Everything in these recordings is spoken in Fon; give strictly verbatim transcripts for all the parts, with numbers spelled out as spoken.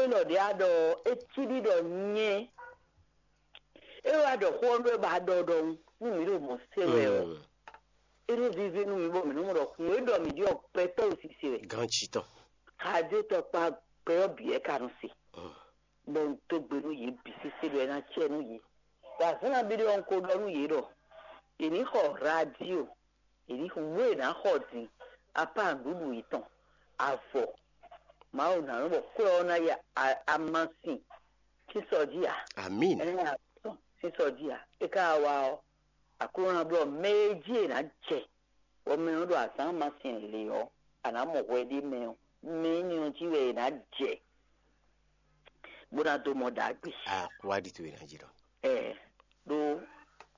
Élɔ́ ɖě a ɖɔ é cí ɖi ɖɔ nyɛ é wá ɖɔ xó ɔ́ ɖó é ba ɖɔ ɖɔhun nú mǐ ɖo mɔ̌ se wɛ ɔ́, é ɖo víví nú mǐ bɔ mǐ nɔ mɔ ɖɔ xu e ɖɔ mǐ ɖi ɔ́ gbɛtɔ́ wǔ sise wɛ. Ganjí tɔn. Xadé tɔkpá gbɛ ɔ́ bǐ wɛ ka nɔ se. Bɔ un dó gbe nú yě bǐ sésé ɖɔ é ná cɛ nú yě. Ɖo azǎn nabí ɖé ɔ́ un ko ɖɔ nú yě ɖɔ è nǐ xɔ radio, è nǐ xɔ nǔ e è nǎ xɔ din, apá nǔɖuɖu yětɔn, avɔ. Mawu ná nɔ bɔ kwɛ́ ɔ́ ná ya amasin sín sɔ jí ǎ. Amín. Ɛ ná tɔn sín sɔ jí ǎ. É ka wá ɔ́, Aklúnɔ ná blɔ́ mɛ e jí è nǎ jɛ, bɔ mɛ ɔ́ ɖo azǎn amasin lě ɔ́, a nǎ mɔ hwɛ ɖé mɛ ɔ́, mɛ énɛ́ ɔ́ jí wɛ è nǎ jɛ, bó ná dó mɔ ɖagbe. Wá ɖi towe ná jí ɖɔ. Ɛ ɖó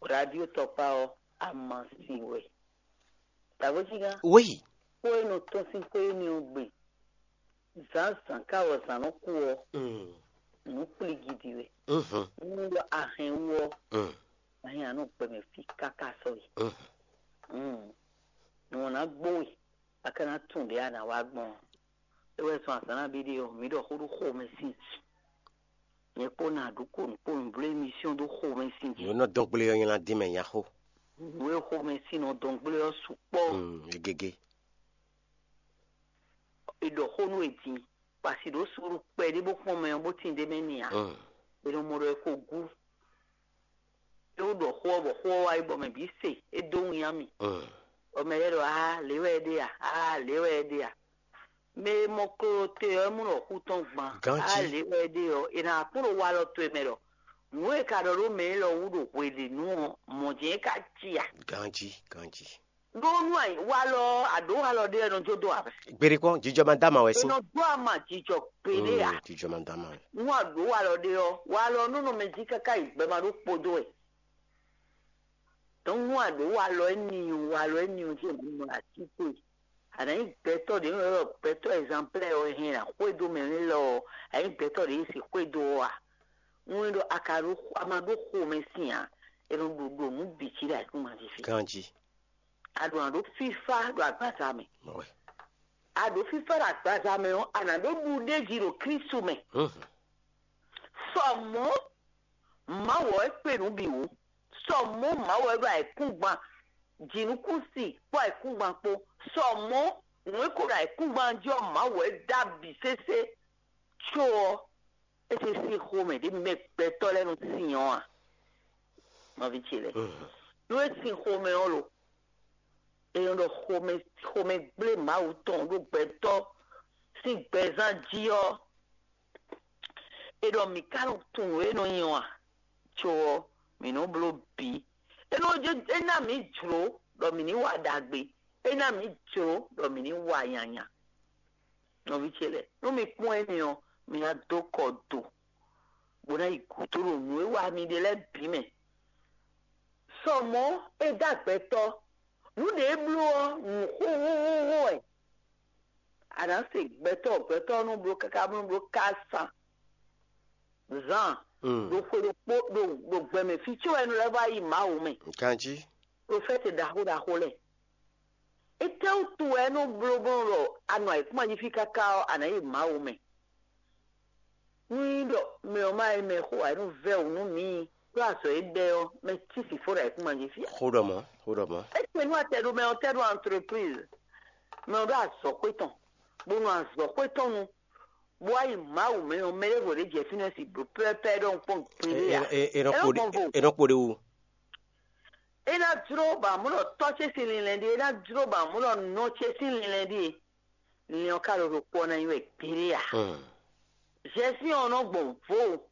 radio tɔkpá ɔ́, amasin wɛ. Tavɔ́jínga. Wéyi. Xó e nɔ tɔ́n sín xó énɛ́ ɔ́ gbe. Zǎnzǎn ká wɔ zǎn nɔ kú ɔ́, nǔ kplígidi wɛ. Nú ɖɔ ahɛn wú ɔ́, ahɛn anɔ gbɛmɛ fí káká sɔ́yi. Nǔ ɔ́ ná gbó we, a ka ná tunwun ɖě a nǎ wá gbɔn ɔ́. É wɛ zɔn azǎn nabí ɖé ɔ́, mǐ ɖɔ xó ɖó xomɛ sín jǐ. Nyɛ kpó ná ɖó kó nǔ kpó nǔ bló émisíɔn ɖó xomɛ sín jǐ. Yǒ nɔ dɔn gblé ɔ́ nylá dín mɛ nyaxó. Nǔ e xomɛ sín nɔ dɔn gblé ɔ́ sukpɔ́. Egege. È ɖɔ xó nú è din, bɔ asi ɖǒ suúlu kpɛɖé bó kpɔ́n mɛ ɔ́ bó tín ɖ'é mɛ n'i ǎ. È nɔ mɔ ɖɔ è ko gú. É wú ɖɔ xó ɔ́ bɔ xó ɔ́ wá yi bɔ mɛ bǐ se, é dó winnyá mì. Bɔ mɛ lɛ́ɛ ɖɔ aa lě wɛ é ɖe a, aa lě wɛ é ɖe a. Mɛ e mɔ klolo te ɔ́, é mɔ ɖɔ xú tɔn gban. Aa lě wɛ é ɖe ɔ́, è nǎ kpɔ́n ɖo walɔ towe mɛ ɖɔ nǔ e è ka ɖɔ ɖó mɛ élɔ́ wú ɖo hweɖěnu ɔ́, mɔ̌ jɛ́n é ka cí a. Ganjí, ganjí. Ɖó nú walɔ ɔ́, a ɖǒ walɔ ɖé ɔ́, é nɔ jó dó ǎ. Gbeɖé kpɔ́n, jijɔ ma dá ma wɛ sín. É nɔ dó ama jijɔ gbeɖé ǎ. Jijɔ ma dá ma wɛ. Nú a ɖǒ walɔ ɖé ɔ́, walɔ ɔ́ nɔ nɔ mɛ jí káká yi gbɛ ma ɖó kpódó wɛ. Dɔnku nú a ɖǒ walɔ énɛ́ ɔ́, walɔ énɛ́ ɔ́ jí è nǎ nɔ así towe. A nǎ nyí gbɛtɔ́ ɖě nɔ ylɔ́ gbɛtɔ́ ɛzanplɛ́ ɔ́ hɛn ná xwedó mɛ nú élɔ́ ɔ́, a nyí gbɛtɔ́ ɖě e si xwedó ɔ́ a? Nú é ɖɔ a ka ɖó a ma ɖó xomɛ sín ǎ, è nɔ ɖo ɖo nǔ bǐ jí ɖo ayǐkúngban jí fí. Ganjí. A ɖo nǎ ɖó fífá ɖo agbaza mɛ. A ɖǒ fífá ɖo agbaza mɛ ɔ́, a nǎ ɖó ɖuɖéji ɖo Klísu mɛ. Sɔ mɔ̌ Mawu ɔ́ é kpe nǔ bǐ wú. Sɔ mɔ̌ Mawu ɔ́ ɖo ayǐkúngban, jǐnukúnsin kpó ayǐkúngban kpó. Sɔ mɔ̌ nǔ e ko ɖo ayǐkúngban jí ɔ́, Mawu ɔ́ é dó abǐ sésé. Có ɔ́, é se sín xomɛ ɖě mɛ gbɛtɔ́ lɛ́ɛ nɔ sin ɔ́ a? Nɔví ce lɛ́ɛ, nú é sin xomɛ ɔ́ lo, é nɔ ɖɔ xomɛ xomɛ gblé Mawu tɔn ɖó gbɛtɔ́ sín gbɛzán jí ɔ́, è ɖɔ mǐ ka nɔ tunwun nǔ e nɔ nyi ɔ́ a? Có ɔ́, mǐ nɔ bló bǐ. É nɔ é ná mǐ jlǒ ɖɔ mǐ ní wa ɖagbe. É ná mǐ jlǒ ɖɔ mǐ ní wa nyanya. Nɔví ce lɛ́ɛ, nú mi kpɔ́n énɛ́ ɔ́, mi ná dó kɔ do, bó ná yi gǔdo ɖo nǔ e wa mi ɖe lɛ́ɛ bǐ mɛ. Sɔ mɔ̌ é dó agbɛtɔ́, nǔ ɖě é bló ɔ́, nǔ xóxóxóxó wɛ. A nǎ se gbɛtɔ́, gbɛtɔ́ ɔ́ nɔ bló káká bó nɔ bló ká san zan ɖo xwe ɖokpó ɖo ɖo gbɛmɛ fí có wɛ nɔ lɛ́ vɔ yi Mawu mɛ. Ganjí. Profɛ́ti ɖaxó ɖaxó lɛ́ɛ. Étɛ́wútu wɛ é nɔ bló bó nɔ ɖɔ a nɔ ayǐkúngban jí fí káká ɔ́, a nǎ yi Mawu mɛ? Nú nyí ɖɔ mɛ ɔ́ ma nyí mɛxó ǎ, é nɔ vɛ́ wǔ nú mǐ, ɖó azɔ̌ e ɖɛ ɔ́, mɛ cí sǐ fó ɖo ayǐkúngban jí fí ǎ. Xó ɖɔ mɔ̌, xó ɖɔ mɔ̌. É kpe nú atɛ ɖo mɛ ɔ́ tɛ́ ɖo antrepríz, mɛ ɔ́ ɖó azɔ̌xwé tɔn, bó nɔ azɔ̌xwé tɔn nu, bó wá yi Mawu mɛ ɔ́, mɛ ɖěvo ɖě jɛ fínɛ́ si blǒ pɛ́pɛ́ ɖɔhun kpɔ́n gbeɖé ǎ. É nɔ kpo ɖé wú. É ná jló ba mɔ̌ ɖɔ tɔ́ ce sín linlɛn ɖíe, é ná jló ba mɔ̌ ɖɔ nɔ ce sín linlɛn ɖíe. Linlɛn ɔ́ ka ɖo ɖokpó ɔ́ ná nyí wɛ gbeɖé ǎ. Zɛsín ɔ́ nɔ gbɔn vo.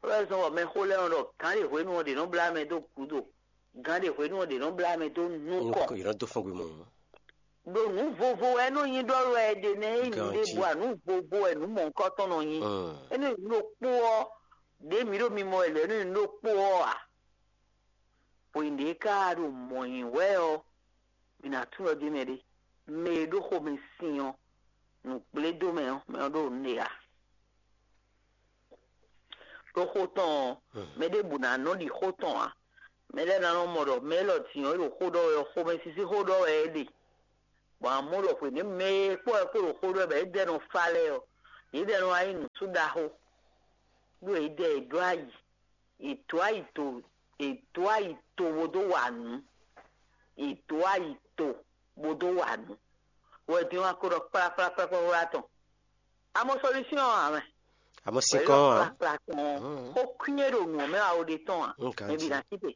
Wɛ zɔn bɔ mɛxó lɛ́ɛ nɔ ɖɔ gǎn ɖe hwenu ɔ́ ɖě nɔ blá mɛ dó gǔdo, gǎn ɖe hwenu ɔ́ ɖě nɔ blá mɛ dó nukɔn. Yě nɔ dó fɔ́n gbe mɔ. Ɖo nǔ vovo wɛ nɔ nyi ɖɔ wɛ ɖe nɛ é nyi ɖěbǔ a nǔ vovo wɛ nǔ mɔ̌hunkɔtɔn nɔ nyi. Énɛ́ nǔ ɖokpó ɔ́, ɖě mǐ ɖo mimɔ wɛ lɛ̌ nú nǔ ɖokpó ɔ́ ǎ. Hwenu ɖě ká ɖo mɔ̌ nyi wɛ ɔ́, mǐ ná tunwun ɖɔ ɖ'é mɛ ɖé. Mɛ e ɖó xomɛ sin ɔ́, nǔgblédómɛ ɔ́, mɛ ɔ́ ɖo nǔ ɖe ǎ. Ɖó xó tɔn ɔ́, mɛ ɖěbǔ ná nɔ ɖi xó tɔn ǎ. Mɛ lɛ́ɛ ná nɔ mɔ ɖɔ mɛ élɔ́ din ɔ́, é ɖo xó ɖɔ wɛ ɔ́, xomɛsísí xó ɖɔ wɛ é ɖe. Bɔ amɔ̌ ɖɔ hwěɖěmɛ e kpɔ́ wɛ kó ɖo xó ɖɔ wɛ bɔ é dɛ́ nɔ fá lɛ́ɛ ɔ́, Yědɛɛ nɔ wá nyí nǔsú ɖaxó, ɖó yědɛɛ è ɖó ayi, è dǒ ayi to, è dǒ ayi to bó dó wa nǔ, è dǒ ayi to bó dó wa nǔ. Wɛ din wá ko ɖɔ kplakplakplakpla tɔn. Amɔ solution ɔ́ ǎ mɛ. Amɔ sinkɔn ɔ́ ǎ. Kplakpla tɔn ɔ́, xó kwín e ɖo nǔ ɔ́ mɛ wá wo ɖe tɔn ǎ. Mɛ bǐ ná sí te.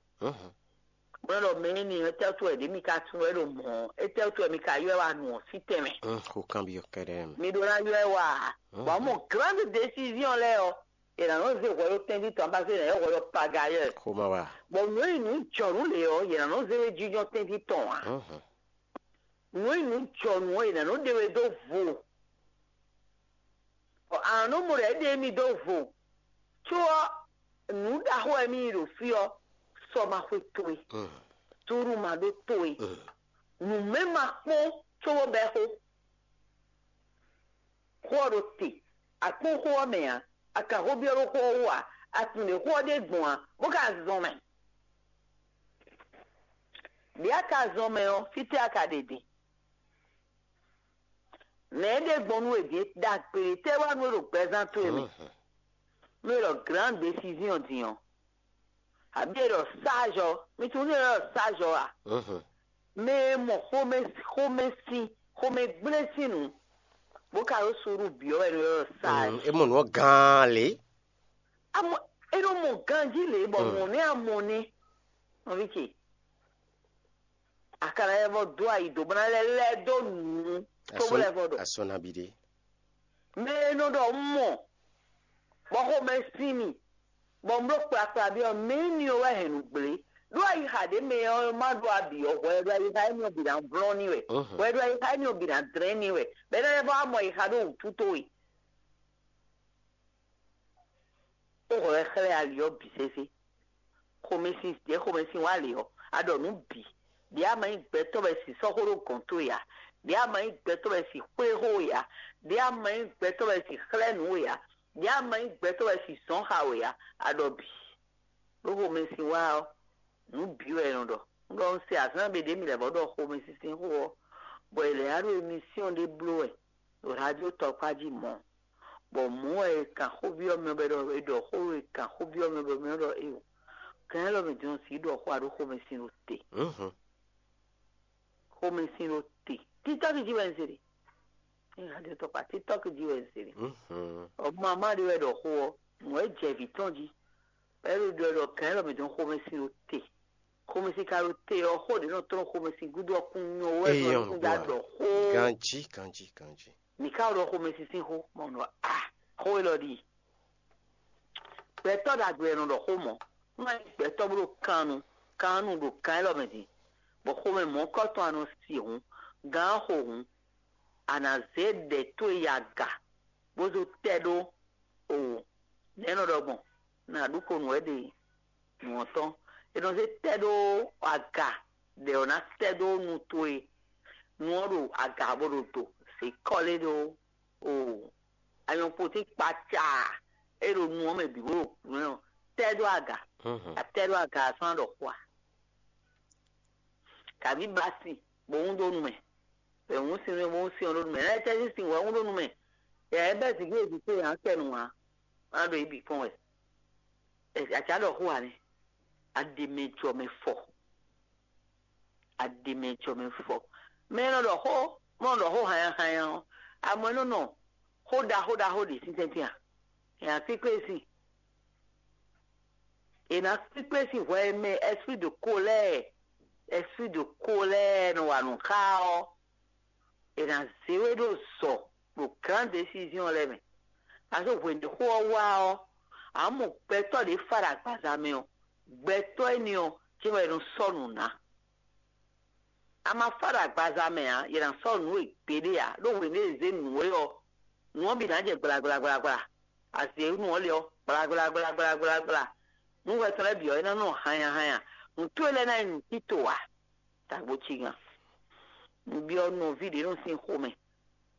Bó nɔ ɖɔ mɛ énɛ́ ɔ́, étɛ́ wútu wɛ ɖě mi ka tunwun wɛ ɖo mɔ̌ ɔ́? Étɛ́ wútu wɛ mi ka ylɔ́ ɛ wá nu ɔ́ sí tɛnmɛ? Xó kanbyɔ́ kɛ́ɖɛ́ mɛ. Mi ɖó ná ylɔ́ ɛ wá ǎ. Bɔ mɔ grande décision lɛ́ɛ ɔ́, è nǎ nɔ zé hwɛ ɖó tɛ́nví tɔn abáfé nǎ ylɔ́ hwɛ ɖɔ pagayɛ. Xó ma wá. Bɔ nǔ e nyí nǔ jɔ̌nu lě ɔ́, è nǎ nɔ zé ɖó jínjɔ́n tɛ́nví tɔn ǎ. Nǔ e nyí nǔ jɔ̌nu ɔ́, è nǎ nɔ ɖe we dó vo. Bɔ a nǎ nɔ mɔ ɖɔ é ɖe émí dó vo, có ɔ́, nǔ ɖaxó wɛ mì yi ɖo fí ɔ́, sɔ ma xwe towe, suúlu ma ɖó towe, nǔmɛ ma kpɔ́n cóbó bɛ́ xó. Xó ɔ́ ɖo te, a kpɔ́n xó ɔ́ mɛ ǎ, a ka xó byɔ́ ɖó xó ɔ́ wú ǎ, a tunwun ɖě xó ɔ́ ɖe gbɔn ǎ, bó ka zɔn mɛ. Ɖě a ka zɔn mɛ ɔ́, fítɛ́ a ka ɖe din? Nɛ̌ é ɖe gbɔn nú we din? Ɖagbe ɖě tɛ́ wá nú we ɖo gbɛzán towe mɛ? Nú we ɖɔ grande décision din ɔ́, abǐ è ɖɔ sage ɔ́, mi tunwun nú è ɖɔ sage ɔ́ a? Mɛ e mɔ xomɛ xomɛsin xomɛgblé sín nǔ, bó ka ɖó suúlu bǐ ɔ́ wɛ è nɔ ylɔ́ ɖɔ sage. É mɔ nǔ ɔ́ gán lě. Amɔ é nɔ mɔ ganjí lě bɔ mɔ̌ nɛ́ a mɔ nɛ́. Nɔví ce, a ka ná lɛ́ vɔ dó ayi dó bó ná lɛ́ lɛ́ dó nǔ tó bó lɛ́ vɔ ɖɔ. Asɔ́ nabí ɖé. Mɛ e nɔ ɖɔ un mɔ, bɔ xomɛ sín mì, bɔ un bló kplakpla byɔ́ mɛ énɛ́ ɔ́ wɛ hɛn nǔ gblé. Ɖó ayixa ɖě mɛ ɔ́ ma ɖó abǐ ɔ́, hwɛ ɖo ayixa énɛ́ ɔ́ bǐ ná vlɔ́n n'i wɛ, hwɛ ɖo ayixa énɛ́ ɔ́ bǐ ná dlɛ́n n'i wɛ, bɔ é ná lɛ́ vɔ wá mɔ ayixa ɖó wǔtu towe. Ó hwɛ wɛ xlɛ́ ali ɔ́ bǐ sésé. Xomɛsin ɖě xomɛsin wá lě ɔ́, a ɖɔ nǔ bǐ. Ɖě a ma nyí gbɛtɔ́ wɛ si sɔ́ xó ɖó gɔ̌n towe ǎ. Ɖě a ma nyí gbɛtɔ́ wɛ si xwlé xó we ǎ. Ɖě a ma nyí gbɛtɔ́ wɛ si xlɛ́ nǔ we ǎ. Ɖě a ma nyí gbɛtɔ́ wɛ si zɔ̌n xa we ǎ. A ɖɔ bǐ. Ɖó xomɛsin wá ɔ́, nǔ bǐ wɛ è nɔ ɖɔ. Un ɖɔ un se azǎn ɖé ɖě mi lɛ́ vɔ ɖɔ xomɛsin sín xó ɔ́, bɔ è lɛ̌ wá ɖo emisíɔn ɖé bló wɛ ɖo radio tɔkpá jí mɔ̌. Bɔ mɔ̌ wɛ è kan xó byɔ́ mɛ bɔ è ɖɔ è ɖɔ xó e kan xó byɔ́ mɛ bɔ mɛ ɖɔ éyo. Gǎn élɔ́ mɛ din ɔ́, sǐ ɖɔ xó aɖó xomɛsin ɖo te. Xomɛsin ɖo te. Títɔ́ jí wɛ un se ɖe. Ní radio tɔkpá títɔ́ jí wɛ un se ɖe. Ɔ mama ɖé wɛ ɖɔ xó ɔ́, mɔ̌ wɛ jɛ vǐ tɔn jí. Bɔ é ɖo ɖɔ ɖɔ gǎn élɔ́ mɛ din ɔ́, xomɛsin ɖo te. Xomɛsin ka ɖo te ɔ́, xó ɖě nɔ tlɔ́n xomɛsin gúdo ɔ́ kún nyɔ wɛ nɔ kún ja ɖɔ xó. Ganjí ganjí ganjí. Mǐ ka ɖɔ xomɛsin sín xó, mɔ nɔ a xó élɔ́ ɖi. Gbɛtɔ́ ɖagbe wɛ nɔ ɖɔ xó mɔ̌. Nú a nyí gbɛtɔ́ bó ɖo kannu kannu ɖo kan élɔ́ mɛ din, bɔ xomɛ mɔ̌kɔtɔn a nɔ si hǔn, gǎn xo hǔn, a nǎ zé ɖɛ towe yi aga, bó zó tɛ ɖó o nɛ̌ nɔ ɖɔ gbɔn? Nǎ ɖu ko nǔ wɛ ɖe nǔ ɔ́ tɔn. È nɔ zé tɛ ɖó aga ɖɛ ɔ́ ná tɛ ɖó nu towe. Nu ɔ́ ɖo aga bó ɖo do, zě kɔlé ɖó o anyɔkpotín kpacaa e ɖo nu ɔ́ mɛ bǐ bó ɖo nǔ ɔ́ tɛ ɖó aga. A tɛ ɖó aga ɔ́ sɔ́ ná ɖɔ xó a? Kaví ba sin bó hún dó nu mɛ. È hún sin bó hún sin ɔ́ ɖó nu mɛ. Lɛ́ tɛ́ sín sin wɛ hún dó nu mɛ. Yɛ é bɛ́ zǐngídi ce yě ná kɛ nǔ ǎ. Má ɖo yě bǐ kpɔ́n wɛ. Acǎ ɖɔ xó ǎ nɛ́. A ɖe mɛ jɔ mɛ fɔ. A ɖe mɛ jɔ mɛ fɔ. Mɛ e nɔ ɖɔ xó, mɔ nɔ ɖɔ xó hanya hanya ɔ́, amɔ é nɔ nɔ xó ɖaxó ɖaxó ɖě sín tɛ́ntin a? È nǎ kpíkpé sin. È nǎ kpíkpé sin hwɛ e mɛ esprit de colère, esprit de colère nɔ wa nǔ xá ɔ́, è nǎ zé we ɖó zɔ ɖo grande décision lɛ́ɛ mɛ. Aso hwěɖěxó ɔ́ wá ɔ́, a mɔ gbɛtɔ́ ɖě fa ɖo agbaza mɛ ɔ́, gbɛtɔ́ énɛ́ ɔ́, cɛ́n wɛ è nɔ sɔ́ nǔ ná. A ma fa ɖo agbaza mɛ ǎ, è nǎ sɔ́ nǔ e gbeɖé ǎ, ɖó hwěɖě e zě nǔ é ɔ́, nǔ ɔ́ bǐ ná jɛ gblagblagblagbla. A zě nǔ ɔ́ lě ɔ́, gblagblagblagblagbla. Nǔ hwɛ tɔn lɛ́ɛ bǐ ɔ́, é ná nɔ hanya hanya. Nǔ towe lɛ́ɛ ná nyí nǔtito ǎ. Tagbo cigan. Un byɔ́ nɔví ɖě nɔ sín xomɛ,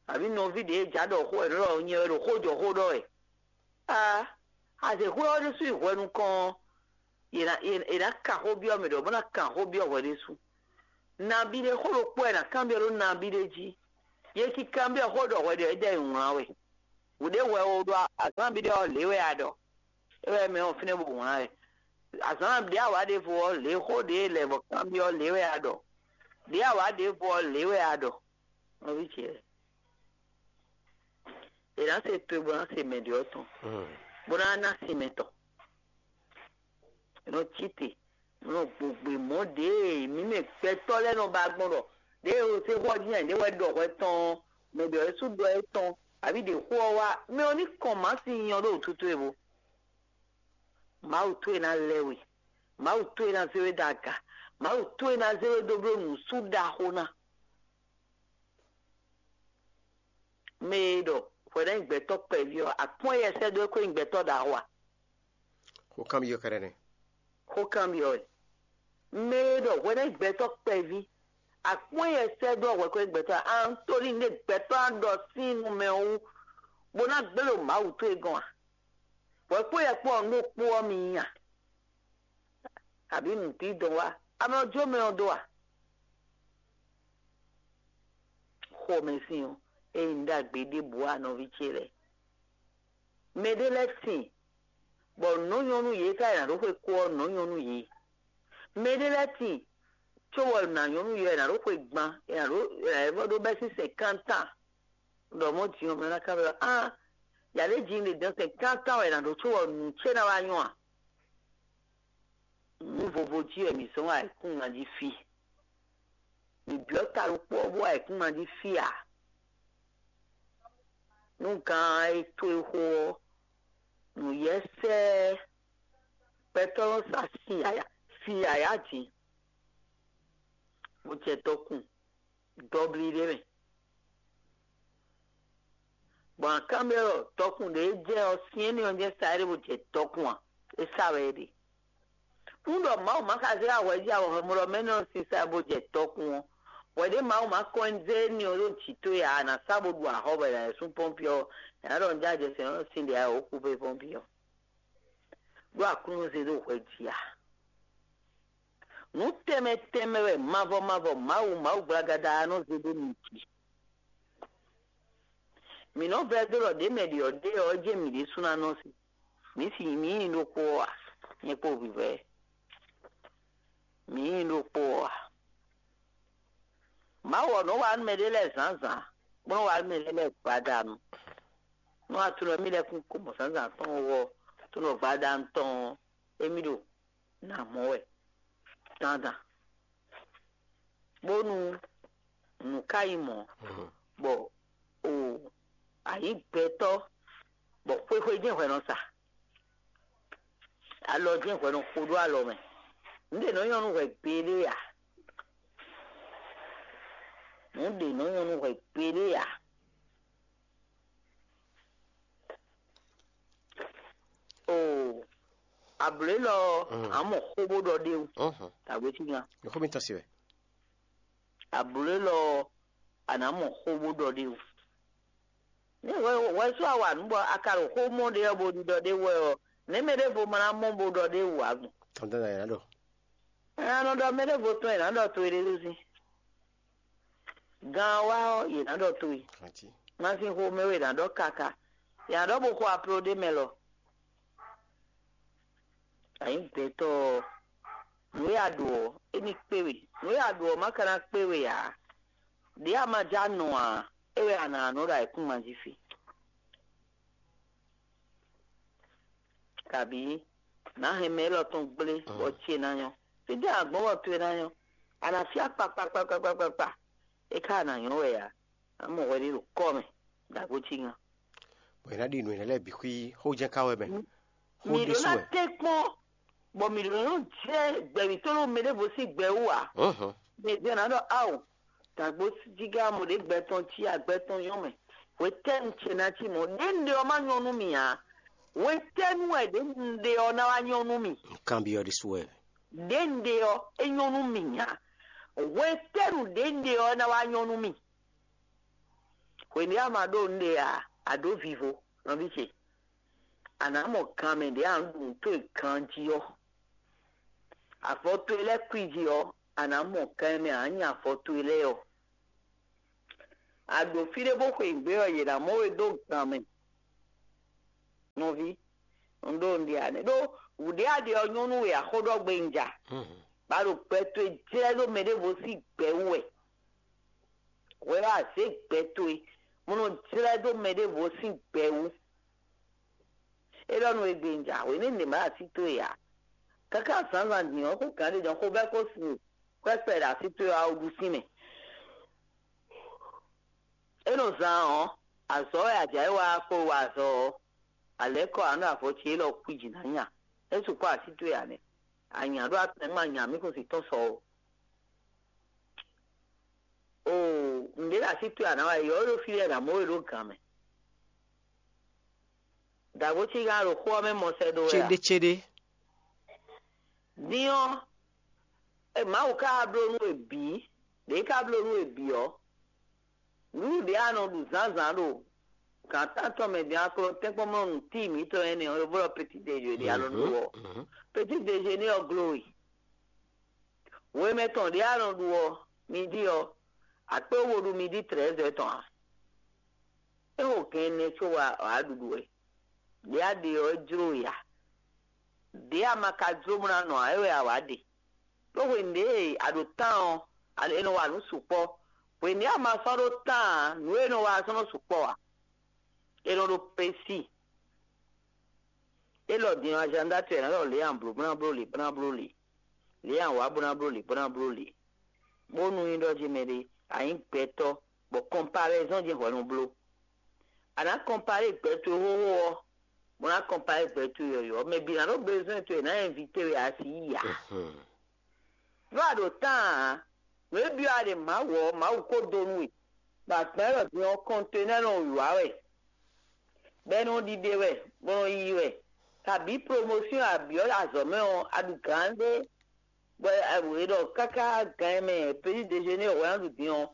abǐ nɔví ɖě e jǎ ɖɔ xó wɛ, nǔ ɖɔ nyɛ wɛ ɖo xó jɔ xó ɖɔ wɛ. Aa, azěxwé ɔ́ ɖésú yi hwɛ nukɔn ɔ́, è nǎ è nǎ kan xó byɔ́ mɛ ɖɔ bó ná kan xó byɔ́ hwɛ ɖésú. Nabí ɖé xó ɖokpó wɛ è nǎ kanbyɔ́ ɖó nabí ɖé jí. Yě cí kanbyɔ́ xó ɖɔ hwɛ ɖě wɛ é ɖɔ è wlán wɛ. Wǔ ɖé hwɛ o ɖo azǎn bí ɖé ɔ́ lě wɛ a ɖɔ. É wɛ mɛ ɔ́ fínɛ́ bó wlán wɛ. Azǎn ɖě a wǎ ɖěvo ɔ́ lě xó ɖě lɛ bɔ kanbyɔ́ lě wɛ a ɖɔ. Ɖě a wǎ ɖěvo ɔ́ lě wɛ a ɖɔ. Nɔví ce lɛ́ɛ, è nǎ se towe bó ná se mɛ ɖě ɔ́ tɔn, bó ná ná sin mɛ tɔn. È nɔ cí te, è nɔ gbogbe mɔ̌ ɖě mǐ mɛ gbɛtɔ́ lɛ́ɛ nɔ ba gbɔn ɖɔ ɖěe è se xó ɔ́ jí nyi ɖě wɛ ɖɔ hwɛ tɔn ɔ́, mɛ ɖě ɔ́ sú ɖɔ é tɔn, abǐ ɖě xó ɔ́ wá, mɛ ɔ́ ní kɔn mǎ sin nyɔ ɖó wǔtu towe bo. Mawu towe ná lɛ́ we, Mawu towe ná zé we ɖó aga, Mawu towe ná zé we dó bló nǔsú ɖaxó ná. Mɛ e ɖɔ hwɛɖɛ́ nyí gbɛtɔ́ kpɛví ɔ́, akpɔ́n yɛ sɛ́ dó é kó nyí gbɛtɔ́ ɖaxó a? Xó kanbyɔ́ kɛ́ɖɛ́ nɛ́. Xó kanbyɔ́ wɛ. Mɛ e ɖɔ hwɛɖɛ́ nyí gbɛtɔ́ kpɛví, akpɔ́n yɛ sɛ́ dó hwɛ kó nyí gbɛtɔ́ a? Antóni ɖe gbɛtɔ́ á ɖɔ sín nu mɛ wú, bó ná gbé ɖo Mawu towe gɔ́n a? Hwɛ kpó yɛ kpó ɔ́, nú kpó ɔ́ mi nyi a? Abǐ nǔdídɔn wá? Amɛ ɔ́ jó mɛ ɔ́ dó a? Xomɛsin ɔ́, ényí un ɖagbe ɖěbǔ ǎ nɔví ce lɛ́ɛ. Mɛɖé lɛ́ɛ sin, bɔ nǔ nyɔ́ nú yě ká è nǎ ɖó xwe kó ɔ́, nǔ nyɔ́ nú yě. Mɛɖé lɛ́ɛ sin, cóbɔ nǎ nyɔ́ nú yě ɔ́, è nǎ ɖó xwe gban, è nǎ ɖó è nǎ vɔ ɖó bɛ́ sín sɛnkántán. Ɖɔ mɔ̌ din ɔ́, mɛ ná ká ɖɔ á, yǎ ɖé jǐ ɖě dɔn sɛnkántán wɛ è nǎ ɖó cóbɔ nǔ ce ná wá nyɔ́ a? Nǔ vovo jí wɛ mǐ zɔ́n ayǐkúngban jí fí. Mǐ byɔ́ ta ɖokpó ɔ́ bó ayǐkúngban jí fí ǎ. Nú gan e towe xo ɔ́, nǔyɛ́sɛ́ gbɛtɔ́ nɔ sa sin yǎyá, sin yǎyá din, bó jɛ dɔkun dɔblí ɖé mɛ. Gbɔn akán mɛ ɔ́, dɔkun ɖě jɛ ɔ́, syɛ́n n'i ɔ́ jɛ sa éɖée bó jɛ dɔkun ǎ; é sa wɛ é ɖe. Nú ɖɔ Mawu ma ka zé awɛ jí awɔhwɛmlɔ́ mɛ nɔ sisa bó jɛ dɔkun ɔ́, hwɛ ɖé Mawu ma kɔn zé n'i ɔ́ ɖó jǐ towe ǎ, a nǎ sa bó ɖu axɔ́ bɔ è nǎ lɛ́ sú pɔ́npi ɔ́, è nǎ ɖɔ un jɛ ajɛ sɛn ɔ́ sín ɖě a wǒ kú fé pɔ́npi ɔ́. Ɖó Aklúnɔ zé ɖó hwɛ jí a? Nǔ tɛnmɛ tɛnmɛ wɛ mavɔ mavɔ Mawu Mawu gblagada ɔ́ nɔ zé ɖó mi jí. Mǐ nɔ vɛ́ dó ɖɔ ɖě mɛ ɖě ɔ́ ɖe ɔ́ jɛ́n mǐ ɖésú ná nɔ se. Mǐ si mǐ nyí ɖokpó ɔ́ a? Nyɛ kpó vǐvɛ́, mǐ nyí ɖokpó ɔ́ a? Mawu ɔ́ nɔ wa nú mɛɖé lɛ́ɛ zǎnzǎn, bó nɔ wa nú mɛɖé lɛ́ɛ gbadanu. Nú a tunɔ émí lɛ́ɛ kún ko mɔ zǎnzǎn tɔn ɔ́, tunɔ gbadanu tɔn ɔ́, émí ɖo nǎ mɔ wɛ dandan. Bónú nǔ ka nyí mɔ̌, bɔ o a nyǐ gbɛtɔ́, bɔ xwéxwé jɛ́n hwɛ nɔ sa, alɔ jɛ́n hwɛ nɔ xo ɖó alɔ mɛ. Nǔ ɖě nɔ nyɔ́ nú hwɛ gbeɖé ǎ. Nǔ ɖě nɔ nyɔ́ nú hwɛ gbeɖé ǎ. Oo, ablǒ élɔ́ ɔ́, a mɔ xó bó ɖɔ ɖ'é wú. Tàgbé cí nya. Xó mitɔn se wɛ. Ablǒ élɔ́ ɔ́, a nǎ mɔ xó bó ɖɔ ɖ'é wú. Ní hwɛ hwɛ sú a wa nǔ bɔ a ka ɖo xó mɔ ɖé ɔ́ bó ɖiɖɔ ɖ'é wú wɛ ɔ́, nɛ̌ mɛ ɖěvo ma ná mɔ bó ɖɔ ɖ'é wú ǎ gbɔn? Tɔntɔ́n ná yě ná ɖɔ. Nya nɔ ɖɔ mɛ ɖěvo tɔn è nǎ ɖɔ towe ɖé ɖó sín. Gan ɔ́ wá ɔ́, yě ná ɖɔ towe. Ganjí. Masin xomɛ wɛ è nǎ ɖɔ káká. Yě ná ɖɔ bó xo aplo ɖé mɛ lɔ. Ayǐ gbɛtɔ́ ɔ́, nǔ e a ɖo ɔ́, é ní kpé we. Nǔ e a ɖo ɔ́ ma ka ná kpé we ǎ. Ɖě a ma já nɔ ǎ, é wɛ a nǎ nɔ ɖo ayǐkúngban jí fi. Kabǐ nǎ hɛn mɛ élɔ́ tɔn gblé bɔ ce ná nyɔ́. Fí dɛ́ a gbɔn bɔ towe ná nyɔ́? A nǎ fí akpa kpakpakpakpakpa. É ka a nǎ nyɔ́ wɛ ǎ. A mɔ hwɛ ɖé ɖo kɔ́ mɛ, ɖo agbócí ŋa. Bɔ è nǎ ɖi nǔ énɛ́ lɛ́ɛ bǐ xwí xó jɛ́n ká wɛ mɛ. Xó Mǐ ɖó ɖésú ná wɛ. Tɛ́nkpɔ́n, bɔ mǐ ɖó nɔ jɛ gbɛ̌vítɔ́ ɖo mɛ ɖěvo sín gbɛ wú ǎ. Hǔn hǔn. Mɛ jɛ ná ɖɔ ao, dǎgbó jígá mɔ ɖě gbɛ tɔn cí agbɛ tɔn nyɔ́ mɛ. Hwetɛ́nu ce ná cí mɔ̌? Ɖě un ɖe ɔ́ má nyɔ́ nú mì ǎ. Hwetɛ́nu wɛ ɖě un ɖe ɔ́ ná wá nyɔ́ nú mì? Un kanbyɔ́ ɖésú wɛ. Ɖě un ɖe ɔ́, é nyɔ́ nú mì ǎ. Hwetɛ́nu ɖě un ɖe ɔ́ ná wá nyɔ́ nú mì? Hwenu e a ma ɖó nǔɖé ǎ, a ɖǒ vivo, nɔví ce. A nǎ mɔ gan mɛ ɖě a nǎ ɖu nǔ towe ganjí ɔ́. Avɔ towe lɛ́ɛ kwíji ɔ́, a nǎ mɔ gan e mɛ a nǎ nya avɔ towe lɛ́ɛ ɔ́. A ɖo fí ɖé bó xweyǐgbe ɔ́, yě ná mɔ we dó gan mɛ. ví, un ɖó un ɖe ǎ nɛ́. Ɖó wǔɖé a ɖe ɔ́ nyɔ́ nú we axó ɖɔ gbe un ja. Ba ɖo gbɛ towe jlɛ́ ɖó mɛ ɖěvo sín gbɛ wú wɛ. Hwɛ wá zě gbɛ towe, bó nɔ jlɛ́ dó mɛ ɖěvo sín gbɛ wú. É ɖɔ nú we gbe un ja, hwě nɛ́ nǐ ma ɖo así towe ǎ. Káká zǎnzǎn din ɔ́, xó gǎn ɖé jɔ́n xó bɛ́ kó sin kwɛ́kpɛ ɖo así towe ɔ́, a wú ɖu sín mɛ. É nɔ zán ɔ́, azɔ̌ wɛ a jǎ yi wá kpó wa azɔ̌ ɔ́, a lɛ̌ kɔ ǎ nú avɔ ce élɔ́ kwíji ná nya. É sukpɔ́ así towe ǎ nɛ́. A nya ɖó atɛ́nú ma nya mǐ kún sin tɔ́n sɔ ó. Oo, nǔɖé ɖo así towe ǎ ná wá yi ɔ́, é ɖo fí lɛ́ɛ ná mɔ we ɖó gǎn mɛ. Dǎgbó cí gán ɖo xó ɔ́ mɛ mɔ sɛ́ dó wɛ a? Céɖécéɖé. Din ɔ́, e Mawu ka wá bló nú we bǐ, ɖě ka bló nú we bǐ ɔ́, nǔɖuɖu ɖě a nɔ ɖu zǎnzǎn ɖo gǎn tántɔn mɛ din ɔ́, a ko nɔ tɛ́nkpɔ́n mɔ nǔ tíi mǐtɔn énɛ́ ɔ́, e blɔ́ petit déjeuner ɖě a nɔ ɖu ɔ́. Petit déjeuner ɔ́ gló we. Hwemɛ tɔn ɖě a nɔ ɖu ɔ́, midi ɔ́, akpé wo ɖu midi trɛ́zɛ tɔn ǎ. É xo gɛn ɛnɛ có wá wǎ ɖuɖu wɛ. Ɖě a ɖe ɔ́, é jló we ǎ. Ɖě a ma ka jló bó ná nɔ ǎ, é wɛ a wǎ ɖe. Ɖó hwenu ɖě a ɖo tán ɔ́, è nɔ wa nǔ sukpɔ́. Hwenu ɖě a ma sɔ́ ɖó tán ǎ, nǔ e è nɔ wa ɔ́ sɔ́ nɔ sukpɔ́ ǎ. È nɔ ɖo pesi. Élɔ́ din ɔ́, azǎn dó acɛ ná ɖɔ lě a blǒ bó ná bló lě bó ná bló lě, lě a wǎ bó ná bló lě bó ná bló lě. Bónú nyí ɖɔ jí mɛɖé a nyǐ gbɛtɔ́ bɔ kɔnpalɛzɔ́n jɛ́n hwɛ nɔ bló. A nǎ kɔnpalé gbɛ towe xóxó ɔ́, bó ná kɔnpalé gbɛ towe yɔ̌yɔ́. Mɛ bǐ ná ɖó bezɔ́n towe ná invité we asi yi ǎ. Nú a ɖo tán ǎ, nǔ e byɔ́ a ɖe Mawu ɔ́, Mawu ko dó nú we. Bɔ agbɛ̌ lɔ din ɔ́, kɔntɛnɛ́ nɔ wǐwá wɛ, bɔ é nɔ ɖiɖe wɛ, bó nɔ yiyi wɛ. Kabǐ promosyɔn a byɔ́ azɔ̌ mɛ ɔ́, a ɖu gǎn ɖé, bɔ è ɖɔ káká gǎn e mɛ peti dejeuner hwɛ ná ɖu din ɔ́,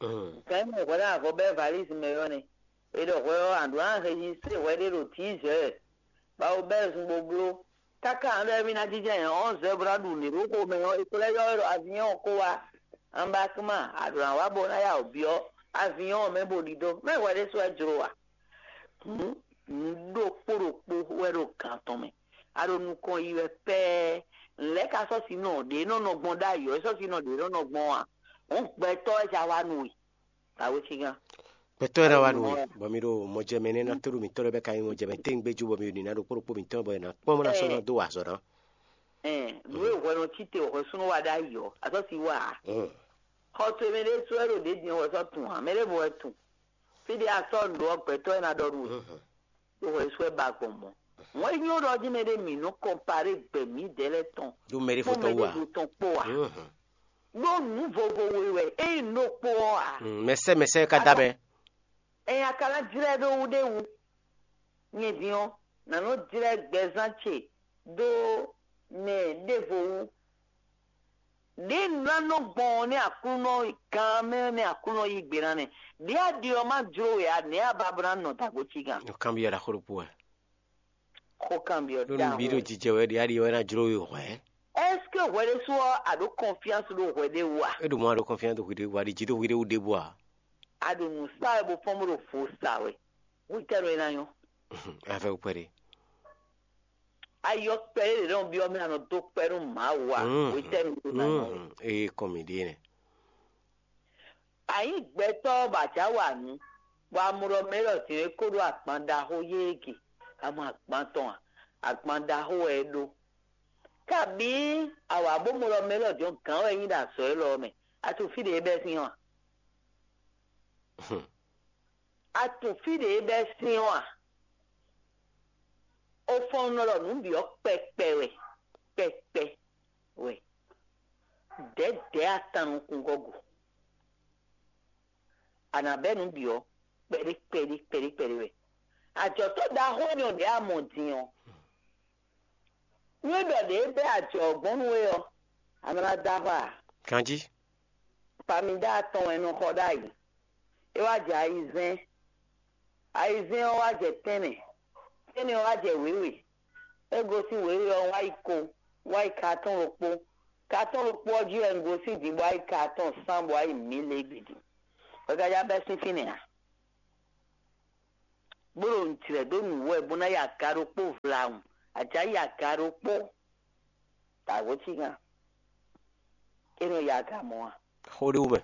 gǎn e mɛ hwɛ ná avɔ bɛ́ valise mɛ ɔ́ nɛ́. È ɖɔ hwɛ ɔ́, a ɖǒ ná registré hwɛ ɖé ɖo dix heures, bɔ a ko bɛ́ zun bó bló. Káká ǎ ɖɔ émí ná jínjɔ́n ayǐ onze heures bó ná ɖu nǔɖé ɖó xomɛ ɔ́, è ko lɛ́ ylɔ́ we ɖɔ aviɔ́ɔn ko wá. Anbakman, a ɖǒ ná wá bó ná ya wǔ byɔ́ aviɔ́ɔn mɛ bó ɖidó. Mɛ hwɛ ɖésú wɛ jló a? Hǔn, nǔ ɖokpó ɖokpó wɛ ɖo gan tɔn mɛ. A ɖo nukɔn yi wɛ pɛ́ɛ. Nǔ lɛ́ɛ ka sɔ́ sinɔ ɖě nɔ nɔ gbɔn ɖ'ayǐ ɔ́, é sɔ́ sinɔ ɖě nɔ nɔ gbɔn a? Hǔn gbɛtɔ́ wɛ ja wá nú we. Awécígán. Gbɛtɔ́ e ná wá nú we, bɔ mi ɖo mɔjɛmɛ nɛ́ ná tóɖu mǐtɔn lɛ́ɛ bɛ ka nyí mɔjɛmɛ téngbéjú, bɔ mi ɖo nǐ ná ɖo kpó ɖokpó mǐtɔn bɔ è nǎ kpɔ́n bó ná sɔ́ ná dó wa azɔ̌ ná. Nǔ e hwɛ nɔ cí te, hwɛ súnnu wa ɖ'ayǐ ɔ́, a sɔ́ si wa ǎ. Xɔ towe mɛ ɖé sɔ́ wɛ ɖo ɖě din ɔ́, hwɛ sɔ́ tun ǎ, mɛ ɖěvo wɛ tun. Fí ɖé a sɔ́ nǔ ɖó ɔ́, gbɛtɔ́ e ná ɖɔ nú we, ɖó hwɛ sú wɛ ba gbɔn mɔ̌. Wɛn nyí ɖɔ jí mɛ ɖé mǐ nɔ kɔnpaɖé gbɛ mǐdɛɛ lɛ́ɛ tɔn Ɖó mɛ ɖé kpó fó mɛ tɔn wú ǎ. Ɖěvo tɔn kpó ǎ. Ɖó nǔ vovo we wɛ é nyí nǔ ɖokpó ɔ́ ǎ. Mɛ sɛ́ mɛ sɛ́ ka dá mɛ. Ɛnyi a ka ná jlɛ́ ɖó wú ɖé wú. Nyɛ din ɔ́, nǎ nɔ jlɛ́ gbɛzán ce dó mɛ ɖěvo wú. Ɖě un ná nɔ gbɔn ɔ́ nɛ́ Aklúnɔ gán mɛ nɛ́ Aklúnɔ yí gbe ná nɛ́. Ɖě a ɖi ɔ́ má jló we ǎ, nɛ̌ a ba bó ná nɔ dǎgbó cí gán? Nǔkanbyɔ́ ɖaxó ɖokpó wɛ. Xó kanbyɔ́ Ɖó nǔ bǐ ɖo ɖaxó. Jijɛ wɛ ɖě a ɖi wɛ ná jló we hwɛ̌. Est-ce que hwɛ ɖésú ɔ́ a ɖǒ confiance ɖó hwɛ ɖé wú a? É ɖo mɔ a ɖo confiance ɖo hwi ɖé wú a ɖi jí ɖo hwi ɖé wú ɖěbǔ a? A ɖo nǔ sa wɛ bó fɔ́n bó ɖo vo sa wɛ. Hwetɛ́nu é ná nyɔ́? Afɛ kpɛɖé. Ayɔ kpɛɖé ɖě nɔ byɔ́ mɛ a nɔ dó kpɛ́ nú Mawu a? Hwetɛ́nu é ná nyɔ́? Ee kɔn mǐ ɖíe nɛ. A nyǐ gbɛtɔ́ bɔ a jǎ wa nǔ, bɔ a mɔ ɖɔ mɛ élɔ́ din é kó ɖó agban ɖaxó yéé ge, a mɔ agban tɔn a? Agban ɖaxó wɛ é ɖó. Kabǐ a wǎ bó mɔ ɖɔ mɛ élɔ́ din ɔ́ gǎn wɛ é nyí ɖo azɔ̌ élɔ́ ɔ́ mɛ, a tunwun fí ɖě é bɛ́ sín ɔ́ a? A tunwun fí ɖě é bɛ́ sín ɔ́ a? Ofɔnnɔ ɖɔ nǔ bǐ ɔ́ kpɛkpɛ wɛ, kpɛkpɛ wɛ. Dɛ̌dɛ̌ atan nukúngɔ́ go. A nǎ bɛ́ nǔ bǐ ɔ́ kpɛɖé kpɛɖé kpɛɖé kpɛɖé wɛ. Ajɔ̌tɔ́ ɖaxó énɛ́ ɔ́ ɖě a mɔ din ɔ́, nú é ɖɔ ɖě é bɛ́ ajɔ̌ ɔ́ gbɔn nú we ɔ́, a nɔ ná dó axwá ǎ. Ganjí. Pamida atɔn wɛ è nɔ xɔ ɖ'ayǐ. É wá jɛ ayizɛ́n. Ayizɛ́n ɔ́ wá jɛ tɛ́nnɛ. Tɛ́nnɛ ɔ́ wá jɛ wěwe. É gosín wěwe ɔ́ wá yi ko, wá yi katɔ́n ɖokpó. Katɔ́n ɖokpó ɔ́ jí wɛ un gosín din bó wá yi katɔ́n sán bó wá yi mǐ lě gbe din. Hwɛgajá bɛ́ sín fínɛ́ ǎ. bó ɖo nǔ jlɛ̌ dó nǔ wɛ bó ná yi aga ɖokpó vlawun, a jǎ yi aga ɖokpó. Dǎwe cí gán. É nɔ yi aga mɔ̌ a? Xó ɖé wú mɛ.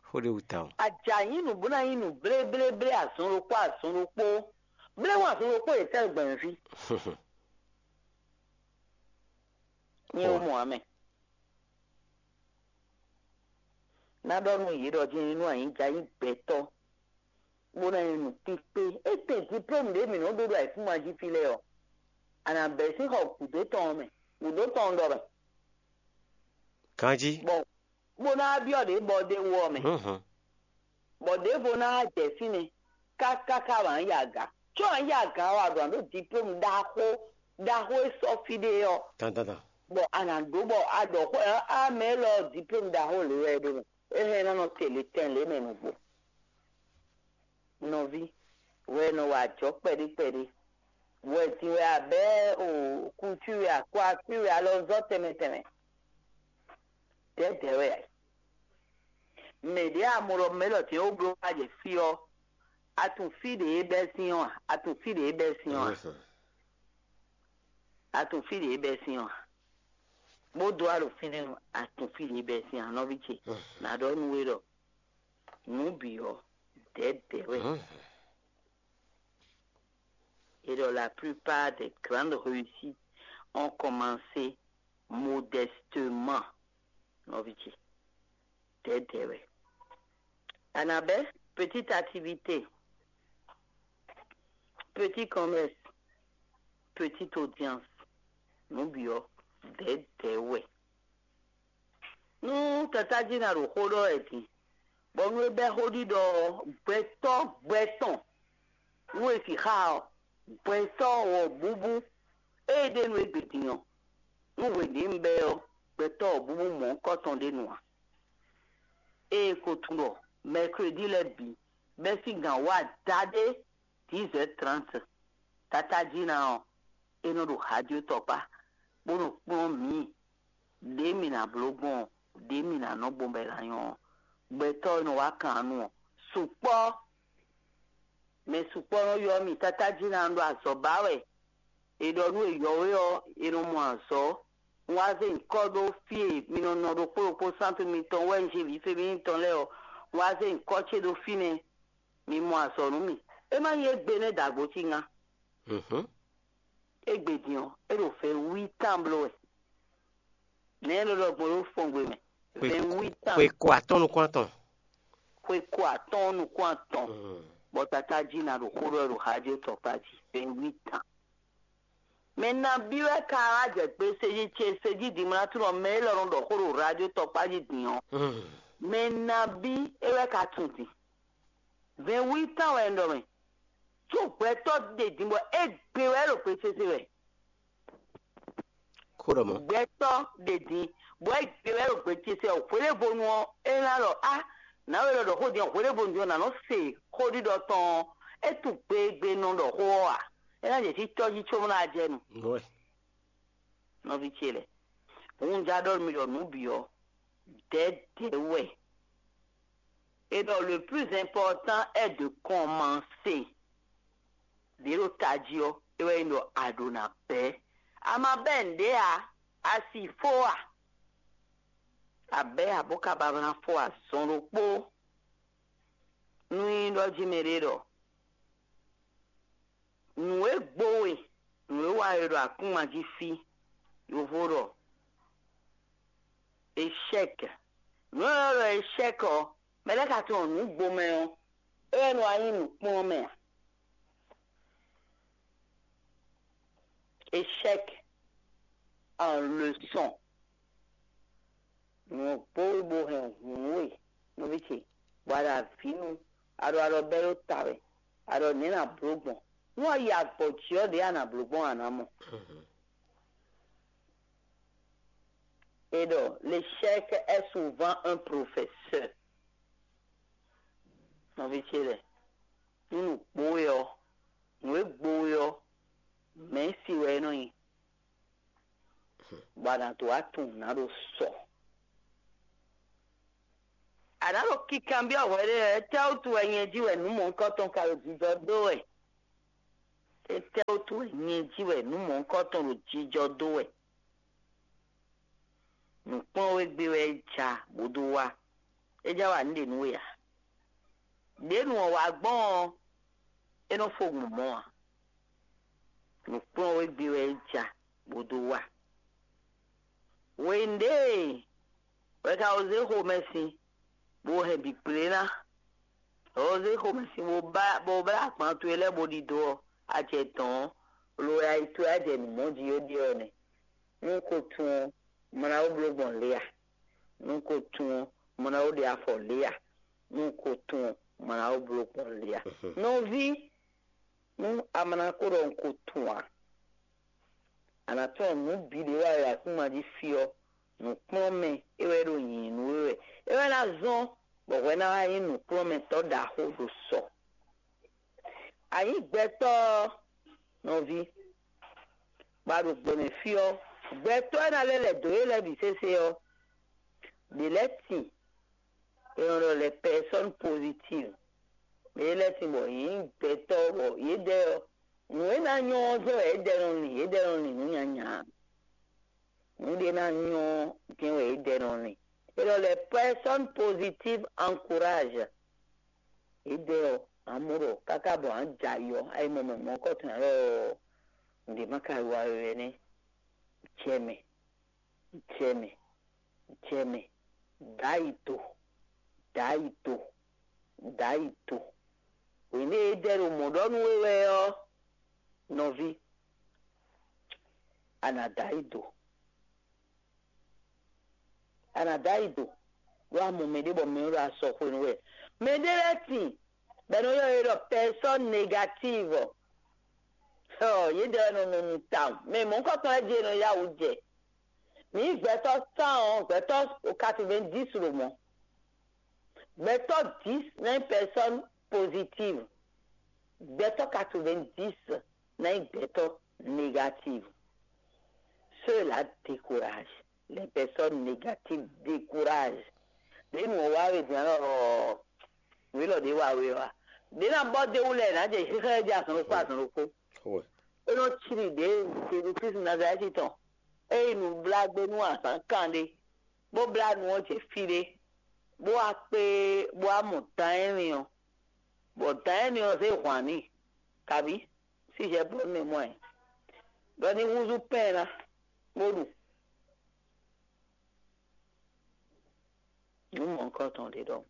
Xó ɖé wú tawun. A jǎ nyí nǔ bó ná nyí nǔ bléblé azɔn ɖokpó azɔn ɖokpó. Bléwún azɔn ɖokpó yě tɛ́ gbɛ̌nví. Nyɛ wú mɔ̌ ǎ mɛ. Ná ɖɔ nú yě ɖɔ jɛ́n nú anyǐjá nyí gbɛtɔ́, bó ná nyí nǔkpíkpé. Étɛ́ diplôme ɖě mǐ nɔ́ ɖó ɖo ayǐkúngban jí fí lɛ́ɛ ɔ́, a nǎ bɛ̌ sín xɔ gǔdo tɔn ɔ́ mɛ, gǔdo tɔn ɔ́ ɖɔ mɛ. Ganjí. Bɔ bó ná byɔ́ ɖě bɔ ɖ'é wú ɔ́ mɛ. Bɔ ɖěvo ná wá jɛ fínɛ́ káká ká wǎ yi aga. Có wǎ yi aga ɔ́, a ɖǒ ná ɖó diplôme ɖaxó ɖaxó e sɔ́ fí ɖé ɔ́, Dandandan. Bɔ a nǎ ɖó bɔ a ɖɔ xó ɛ á mɛ élɔ́ diplôme ɖaxó lě wɛ é ɖó mɛ. É hɛn ná nɔ te le tɛn lě mɛ nǔgbó. Nɔví, wɛ nɔ wa ajɔ̌ kpɛɖé kpɛɖé. Wɛ din wɛ a bɛ́ o kutu wɛ a kó akpí wɛ alɔ zɔ́ tɛnmɛ tɛnmɛ. Dɛ̌dɛ̌ wɛ a yi. Mɛ ɖě a mɔ ɖɔ mɛ élɔ́ din ó bló wá jɛ fí ɔ́, a tunwun fí ɖě é bɛ́ sín ɔ́ a? A tunwun fí ɖě é bɛ́ sín ɔ́ a? A tunwun fí ɖě é bɛ́ sín ɔ́ a? Bó dó alɔ fínɛ́ ɔ́, a tunwun fí ɖě é bɛ́ sín a, nɔví ce? Nǎ ɖɔ nú we ɖɔ nǔ bǐ ɔ́, dɛ̌dɛ̌ wɛ. Et donc la plupart des grandes réussites ont commencé modestement, nɔví ce. Dɛ̌dɛ̌ wɛ. Annabelle, petite activité, petit commerce, petite audience, nǔ bǐ ɔ́, dɛ̌dɛ̌ wɛ. Nú tatájí ná ɖo xó ɖɔ wɛ din, bɔ nú é bɛ́ xó ɖiɖɔ ɔ́, gbɛtɔ́ gbɛ tɔn nú è sixá ɔ́, gbɛtɔ́ wɔ̌búbú e ɖe nú égbé din ɔ́, nú hweɖěnu bɛ́ ɔ́, gbɛtɔ́ wɔ̌búbú mɔ̌hunkɔtɔn ɖé nu ǎ. Ée ko tunwun ɖɔ mɛkredi lɛ́ɛ bǐ bɛ́ sín gǎn wá daɖé dix heures trente, tatájí ná ɔ́, é nɔ ɖo hajó tɔkpá, bó nɔ kplɔ́n mǐ ɖě mǐ ná bló gbɔn ɔ́, ɖě mǐ ná nɔ gbɔn bɔ è nǎ nyɔ́ ɔ́. Gbɛtɔ́ e nɔ wá kan nu ɔ́, sukpɔ́ mɛ sukpɔ́ nɔ ylɔ́ mì. Tatájí ná ɖo azɔ̌ ba wɛ. È ɖɔ nú è yɔ̌wé ɔ́, è nɔ mɔ azɔ̌. Un wá zé nyǐkɔ ɖó fí e mi nɔ nɔ ɖokpó ɖokpó sántu mitɔn wɛ un jí vǐ fémíní tɔn lɛ́ɛ ɔ́, un wá zé nyǐkɔ ce ɖó fínɛ́. Mi mɔ azɔ̌ nú mì. É má nyí égbé nɛ́ dǎgbó cí ŋá. Égbé din ɔ́, é ɖo vɛ̌ wí tán bló wɛ. Nɛ̌ é nɔ ɖɔ gbɔn ɖó fɔngbe mɛ? Vɛ̌ wí tán. Xwe ko atɔ́ɔ́n nukún atɔn. Xwe ko atɔ́ɔ́n nukún atɔn. Bɔ tatájí ná ɖo xó ɖɔ ɖo hajó tɔkpá jí. Vɛ̌ wí tán. Mɛ nabí wɛ ka wá jɛ gbe sejí ce sejí dimlátúnɔ mɛ élɔ́ nɔ ɖɔ xó ɖo radio tɔkpá jí din ɔ́? Mɛ nabí é wɛ ka tunwun din? Vɛ̌ wí tán wɛ un ɖɔ mɛ. Có gbɛtɔ́ ɖe din bɔ é gbe wɛ ɖo gbe sese wɛ. Xó ɖɔ mɔ̌. Gbɛtɔ́ ɖe din bɔ é gbe wɛ ɖo gbe sese wɛ. Hweɖévonu ɔ́, é ná ɖɔ á, nǎwe lɔ ɖɔ xó din ɔ́, hweɖévonu din ɔ́, nǎ nɔ se xó ɖiɖɔ tɔn ɔ́, é tunwun gbegbenu ɖɔ xó ɔ́ ǎ. É ná jɛ sí tɔ́ jí có bó ná jɛ nu. Nɔví ce lɛ́ɛ, un já ɖɔ nú mi ɖɔ nǔ bǐ ɔ́, dɛ̌dɛ̌ wɛ. Et donc le plus important est de commencer. Ɖě ɖo tají ɔ́, é wɛ nyí ɖɔ a ɖǒ ná bɛ́. A ma bɛ́ nǔɖé ǎ, a si fó a? A bɛ́ ǎ bó ka ba ná fó azɔn ɖokpó. Nú nyí ɖɔ jí mɛɖé ɖɔ nǔ e gbo we, nǔ e wa we ɖo akúngban jí fí, yovo ɖɔ échec. Nǔ e ɖɔ échec ɔ́, mɛ lɛ́ɛ ka tunwun nǔ gbo mɛ ɔ́, é wɛ nɔ wá nyí nǔkplɔ́nmɛ ǎ. Échec en leçon. Nǔ ɔ́ gbó we bó hɛn hǔn we, nɔví ce, bɔ a ɖo avǐ nu, a ɖo alɔ bɛ́ ɖó ta wɛ, a ɖɔ nɛ̌ nǎ bló gbɔn? Nú a yi agbɔ̌ jí ɔ́, ɖěe a nǎ bló gbɔn a nǎ mɔ. Et donc, l'échec est souvent un professeur. Nɔví ce lɛ́ɛ, nú nǔ gbo we ɔ́, nǔ e gbo we ɔ́, mɛ̌si wɛ é nɔ nyí, bɔ a nǎ dó wá tunwun nǔ ná ɖo sɔ. Nǎ ɖo kikanbyɔ́ hwɛɖé wɛ, étɛ́wútu wɛ nyɛ jí wɛ nǔ mɔ̌hunkɔtɔn ka ɖo jijɔ dó wɛ? Étɛ́wútu wɛ nyɛ jí wɛ nǔ mɔ̌hunkɔtɔn ɖo jijɔ dó wɛ? Nǔkplɔ́nwégbé wɛ é ja bó dó wá. É já wa nǔ ɖe nú we ǎ. Ɖě nu ɔ́ wá gbɔn ɔ́, é nɔ fó gbɔn mɔ̌ ǎ. Nǔkplɔ́nwégbé wɛ é ja bó dó wá. Hwenu ɖě wɛ ka wǒ zé xomɛsin, bó hɛn bǐ kplé ná. Wǒ zé xomɛsin bó blá bó blá agban towe lɛ́ɛ bó ɖidó ɔ́, a jɛ dɔ̌n ɔ́, lo wɛ ayi towe á jɛ nǔ mɔ jí ó ɖe ɔ́ nɛ́. Nú ko tun ɔ́, mɔ ná wó bló gbɔn lě a? Nú ko tun ɔ́, mɔ ná wó ɖe afɔ lě a? Nú ko tun ɔ́, mɔ ná wó bló gbɔn lě a? Nɔví, nú a ma ná ko ɖɔ un ko tun ǎ, a nǎ tunwun nǔ bǐ ɖě wa e akúma jí fí ɔ́, nǔkplɔ́nmɛ é wɛ ɖo nyǐnyí nú we wɛ. É wɛ ná zɔ́n bɔ hwɛ ná wá nyí nǔkplɔ́nmɛtɔ́ ɖaxó ɖo sɔ. A nyǐ gbɛtɔ́ ɔ́, nɔví, bɔ a ɖo gbɛmɛ fí ɔ́, gbɛtɔ́ e ná lɛ́ lɛ̌ dó yě lɛ́ɛ bǐ sésé ɔ́, ɖě lɛ́ɛ tin, è nɔ ɖɔ lɛ́ personne positive. Mɛ lɛ́ɛ tin bɔ yě nyí gbɛtɔ́ bɔ yědɛɛ ɔ́, nǔ e ná nyɔ́ ɔ́ jɛ́n wɛ yědɛɛ nɔ lin, yědɛɛ nɔ lin nǔ nyanya. Nǔ ɖé ná nyɔ́ jɛ́n wɛ yědɛɛ nɔ lin. È nɔ lɛ́ personne positive encourage. Yědɛɛ ɔ́, amɔ̌ ɖɔ káká bɔ a nǎ jɛ ayɔ, ayi mɔ mɛ mɔ̌kɔtɔn ǎ lɔ, nǔɖé má ka wa we wɛ nɛ́. Jɛ mɛ, jɛ mɛ, jɛ mɛ, dǎ yi do, dǎ yi do, dǎ yi do. Hwěɖé e jɛ ɖo mɔ̌ ɖɔ nú we wɛ ɔ́, nɔví, a nǎ dǎ yi do. A nǎ dǎ yi do, ɖó a mɔ mɛɖé bɔ mɛ ɔ́ ɖo asɔ xwenu wɛ. Mɛɖé lɛ́ɛ tin, bɔ è nɔ ylɔ́ yě ɖɔ personne négative. Ɔ, yědɛɛ wɛ nɔ nɔ nu tawun. Mɛ mɔ̌hunkɔtɔn lɛ́ɛ jí è nɔ yá wǔ jɛ. Mǐ gbɛtɔ́ cent ɔ́, gbɛtɔ́ quatre-vingt-dix ɖo mɔ̌. Gbɛtɔ́ dix ná nyí personne positive. Gbɛtɔ́ quatre-vingt-dix ná nyí gbɛtɔ́ négative. Cela décourage. Les personnes négatives découragent. Ɖě nǔ ɔ́ wá we din ɔ́, nǔ élɔ́ ɖě wa we ɔ́, ɖě ná bɔ dé wú lɛ́ɛ nǎ jɛ xixlɛ́ jɛ azɔn ɖokpó azɔn ɖokpó. É nɔ cíli ɖě Jezu Klísu Nazalɛ́ti tɔn. É yi nǔblágbé nú azǎn kan ɖé, bó blá nu ɔ́ jɛ fí ɖé, bó wá kpé, bó wá mɔ dan énɛ́ ɔ́, bɔ dan énɛ́ ɔ́ zé hwan n'i, kabí sí Hɛblɔ́nu mɛ mɔ ɛ, ɖɔ ní húzú pɛ́n ɛ ná, bó ɖu. Nǔ mɔ̌hunkɔtɔn ɖé ɖɔhun.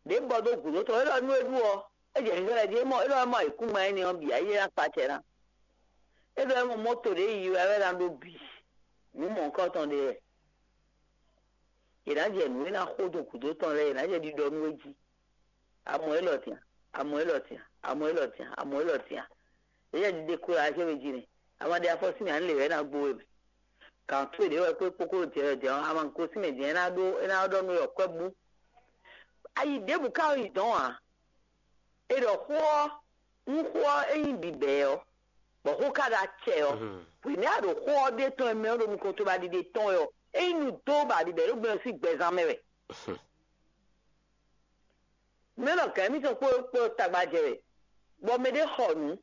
Ɖě bɔ dó gǔdo tɔn, é ɖɔ nú é ɖu ɔ́, é jɛ xixlɛ́ jí, é mɔ é ɖɔ é mɔ ayǐkúngban énɛ́ ɔ́ bǐ, ayé ná kpa acɛ ná. É ɖɔ é mɔ mɔ́to ɖě yiyi wɛ é ná ɖó bǐ. Nǔ mɔ̌hunkɔtɔn ɖé wɛ. Yě ná jɛ nǔ e ná xo dó gǔdo tɔn lɛ́ɛ, yě ná jɛ ɖiɖɔ nú é jí. Amɔ élɔ́ tɛn, amɔ élɔ́ tɛn, amɔ élɔ́ tɛn, amɔ élɔ́ tɛn. Yě jɛ ɖiɖe kó ɖo axéwé jí nɛ́. Ama ɖe afɔ sín mɛ, ǎ lě wɛ é ná gbó we mɛ. Gǎn towe ɖě wɛ kpé kpókó ɖo jɛ wɛ jɛ ɔ́, ama gosín mɛ din, é ná ɖó é ná ɖɔ nú we ɖɔ kwɛ́ bú. Ayi ɖěbǔ ka yi dɔn ǎ. É ɖɔ xó ɔ́, nú xó ɔ́ é nyí bǐbɛ́ ɔ́, bɔ xó ka ɖo acɛ ɔ́, hwě nɛ́ a ɖo xó ɔ́ ɖe tɔn e mɛ ɔ́ ɖo nukɔn towe ba ɖiɖe tɔn wɛ ɔ́, é nyí nǔ dó ba ɖiɖe ɖo gbɛ ɔ́ sín gbɛzán mɛ wɛ. Mɛ nɔ gǎn émítɔn kpó kpó tagba jɛ wɛ, bɔ mɛɖé xɔ nǔ,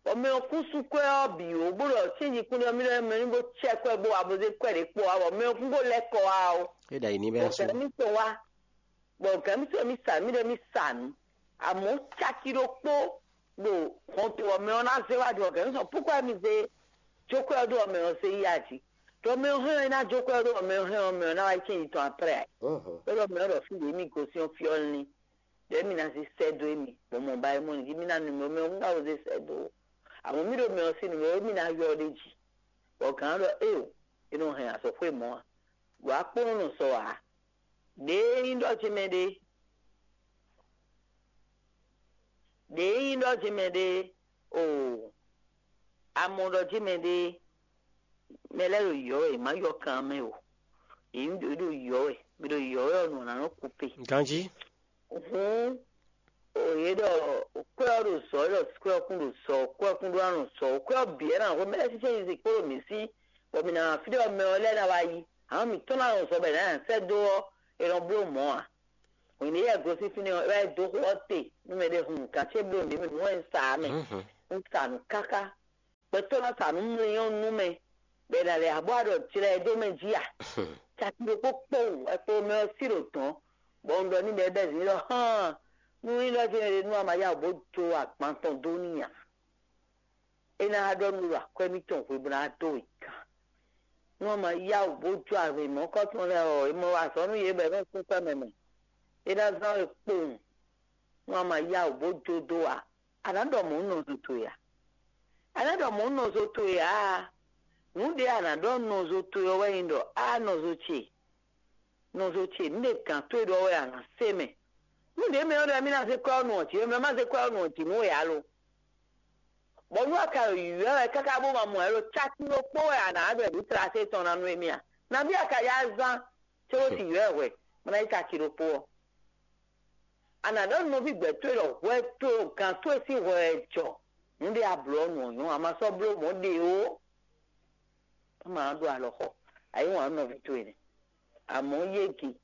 bɔ mɛ ɔ́ kún sú kwɛ́ ɔ́ bǐ ó, bó ɖɔ cɛ́nji kún ɖɔ mí ɖɔ mɛ ní bó cɛ kwɛ́ bó wa bó zé kwɛ́ ɖě kpó wá, bɔ mɛ ɔ́ kún bó lɛ́ kɔ wá ó. É ɖo ayǐ ní bɛ́ Bɔ sú. Gǎn émítɔn wá, bɔ gǎn émítɔn mí sa mí ɖɔ mí sa nǔ, amɔ̌ caki ɖokpó ɖo hɔnto ɔ́ mɛ ɔ́ ná zé wá ɖo gǎn émítɔn púkwɛ́ mi zé jókwɛ́ ɔ́ ɖo ɔmɛ ɔ́ zé yi aji. Ɖɔ mɛ ɔ́ hɛn ɔ́ é ná jókwɛ́ ɔ́ ɖo ɔmɛ ɔ́ hɛn ɔ́ mɛ ɔ́ ná wá yi cɛ́nji tɔn aprɛ́ ǎ. Ɖɔ mɛ ɔ́ ɖɔ fí ɖě mí gosín ɔ́ fí ɔ́ lín. Ɖɔ émí ná zé sɛ́ dó émí, bɔ mɔ ba é mɔ nǔ jí mí ná nu mɛ ɔ́ mɛ ɔ́ ná wó zé sɛ́ dó ó. Amɔ̌ mí ɖo mɛ ɔ́ sín nǔ mɛ ɔ́ émí ná ywɔ́ ɖ'é jí. Bɔ gǎn ɔ́ ɖɔ éeǒ, é nɔ hɛn azɔ̌xwé mɔ̌ ǎ. Ɖo akpónɔ nɔ sɔ ǎ. Ɖěe nyí ɖɔ jí mɛ ɖe, ɖěe nyí ɖɔ jí mɛ ɖe, oo, amɔ ɖɔ jí mɛ ɖe, mɛ lɛ́ɛ ɖo yɔ̌ wɛ, è má yɔ kan mɛ o. Yě ɖo yɔ̌ wɛ, mɛ ɖo yɔ̌ wɛ ɔ́, nǔ ná nɔ kú pe. Ganjí. Hǔn, o yě ɖɔ kwɛ́ ɔ́ ɖo zɔ, é ɖɔ kwɛ́ ɔ́ kún ɖo zɔ, kwɛ́ ɔ́ kún ɖó ná nɔ zɔ, kwɛ́ ɔ́ bǐ wɛ ná hwé mɛ lɛ́ɛ sín cɛ́nyi kpó ɖo mǐ sí, bɔ mǐ ná fí ɖé ɔ́ mɛ ɔ́ lɛ́ɛ ná wá yi. Hǎn mǐtɔn ná nɔ zɔ bɔ è nǎ nyi sɛ́ dó ɔ́, è nɔ bló mɔ̌ ǎ. Hwenu e yɛ gosín fínɛ́ ɔ́, é wá dó xó ɔ́ te nú mɛ ɖé hun nǔkan ce bló nǔ mɛ nǔ wɛ un sa ǎ mɛ. Un sa nǔ káká. Gbɛtɔ́ ná sa nǔ mlɔ́ nú mɛ, bɔ è nǎ lɛ́ abɔ aɖɔ jlɛ ɛ dó mɛ jí a? Caki ɖokpó kpowun wɛ kpo mɛ ɔ́ sí ɖo dɔ̌n, bɔ un ɖɔ n'i bɔ é bɛ́ zǐn ɖɔ hán, nú nyí ɖɔ jɛ́n ɖe nú a ma yá wǔ bó jó agban tɔn dó n'i ǎ. É ná ɖɔ nú ɖo akwɛ́ mitɔn hwe bó ná dó wě gán. Nú a ma yá wǔ bó jó avǐ mɔ̌kɔtɔn lɛ́ɛ ɔ́, è mɔ wa azɔ̌ nú yě bɔ è nɔ sín kwɛ́ mɛ mɛ. É ná zán we kpowun. Nú a ma yá wǔ bó jó dó ǎ, a nǎ ɖɔ mɔ̌ nɔzo towe ǎ. A nǎ ɖɔ mɔ̌ nɔzo towe ǎ. Nǔɖé a nǎ ɖɔ nɔzo towe ɔ́ wɛ nyí ɖɔ á nɔzo ce, nɔzo ce, nǔɖé gǎn towe ɖɔ wɛ a nǎ se mɛ. Nǔɖé mɛ ɔ́ ɖɔ mí ná zé kwɛ́ ɔ́ nu ɔ́ jǐ, mɛ má zé kwɛ́ ɔ́ nu ɔ́ jǐ nú we ǎ lo. Bɔ nú a ka ɖo yǐyɔ́ wɛ káká bó ma mɔ ɛ lo, caki ɖokpó wɛ a nǎ ɖɔ nǔ tlase tɔn ná nú émí a? Nabí a ka yá zán cóbó sin yɔ́ ɛ hwɛ, bó ná yí caki ɖokpó ɔ́? A nǎ ɖɔ nú nɔví gbɛ̌ towe ɖɔ hwɛ towe gǎn towe sín hwɛ wɛ jɔ. Nǔɖé a blǒ ɔ́ nu ɔ́ nyɔ́, a ma sɔ́ bló mɔ̌ ɖe ó. Má ma ɖó alɔ xɔ, a yí wǎn nú nɔví towe nɛ́. Amɔ̌ yége,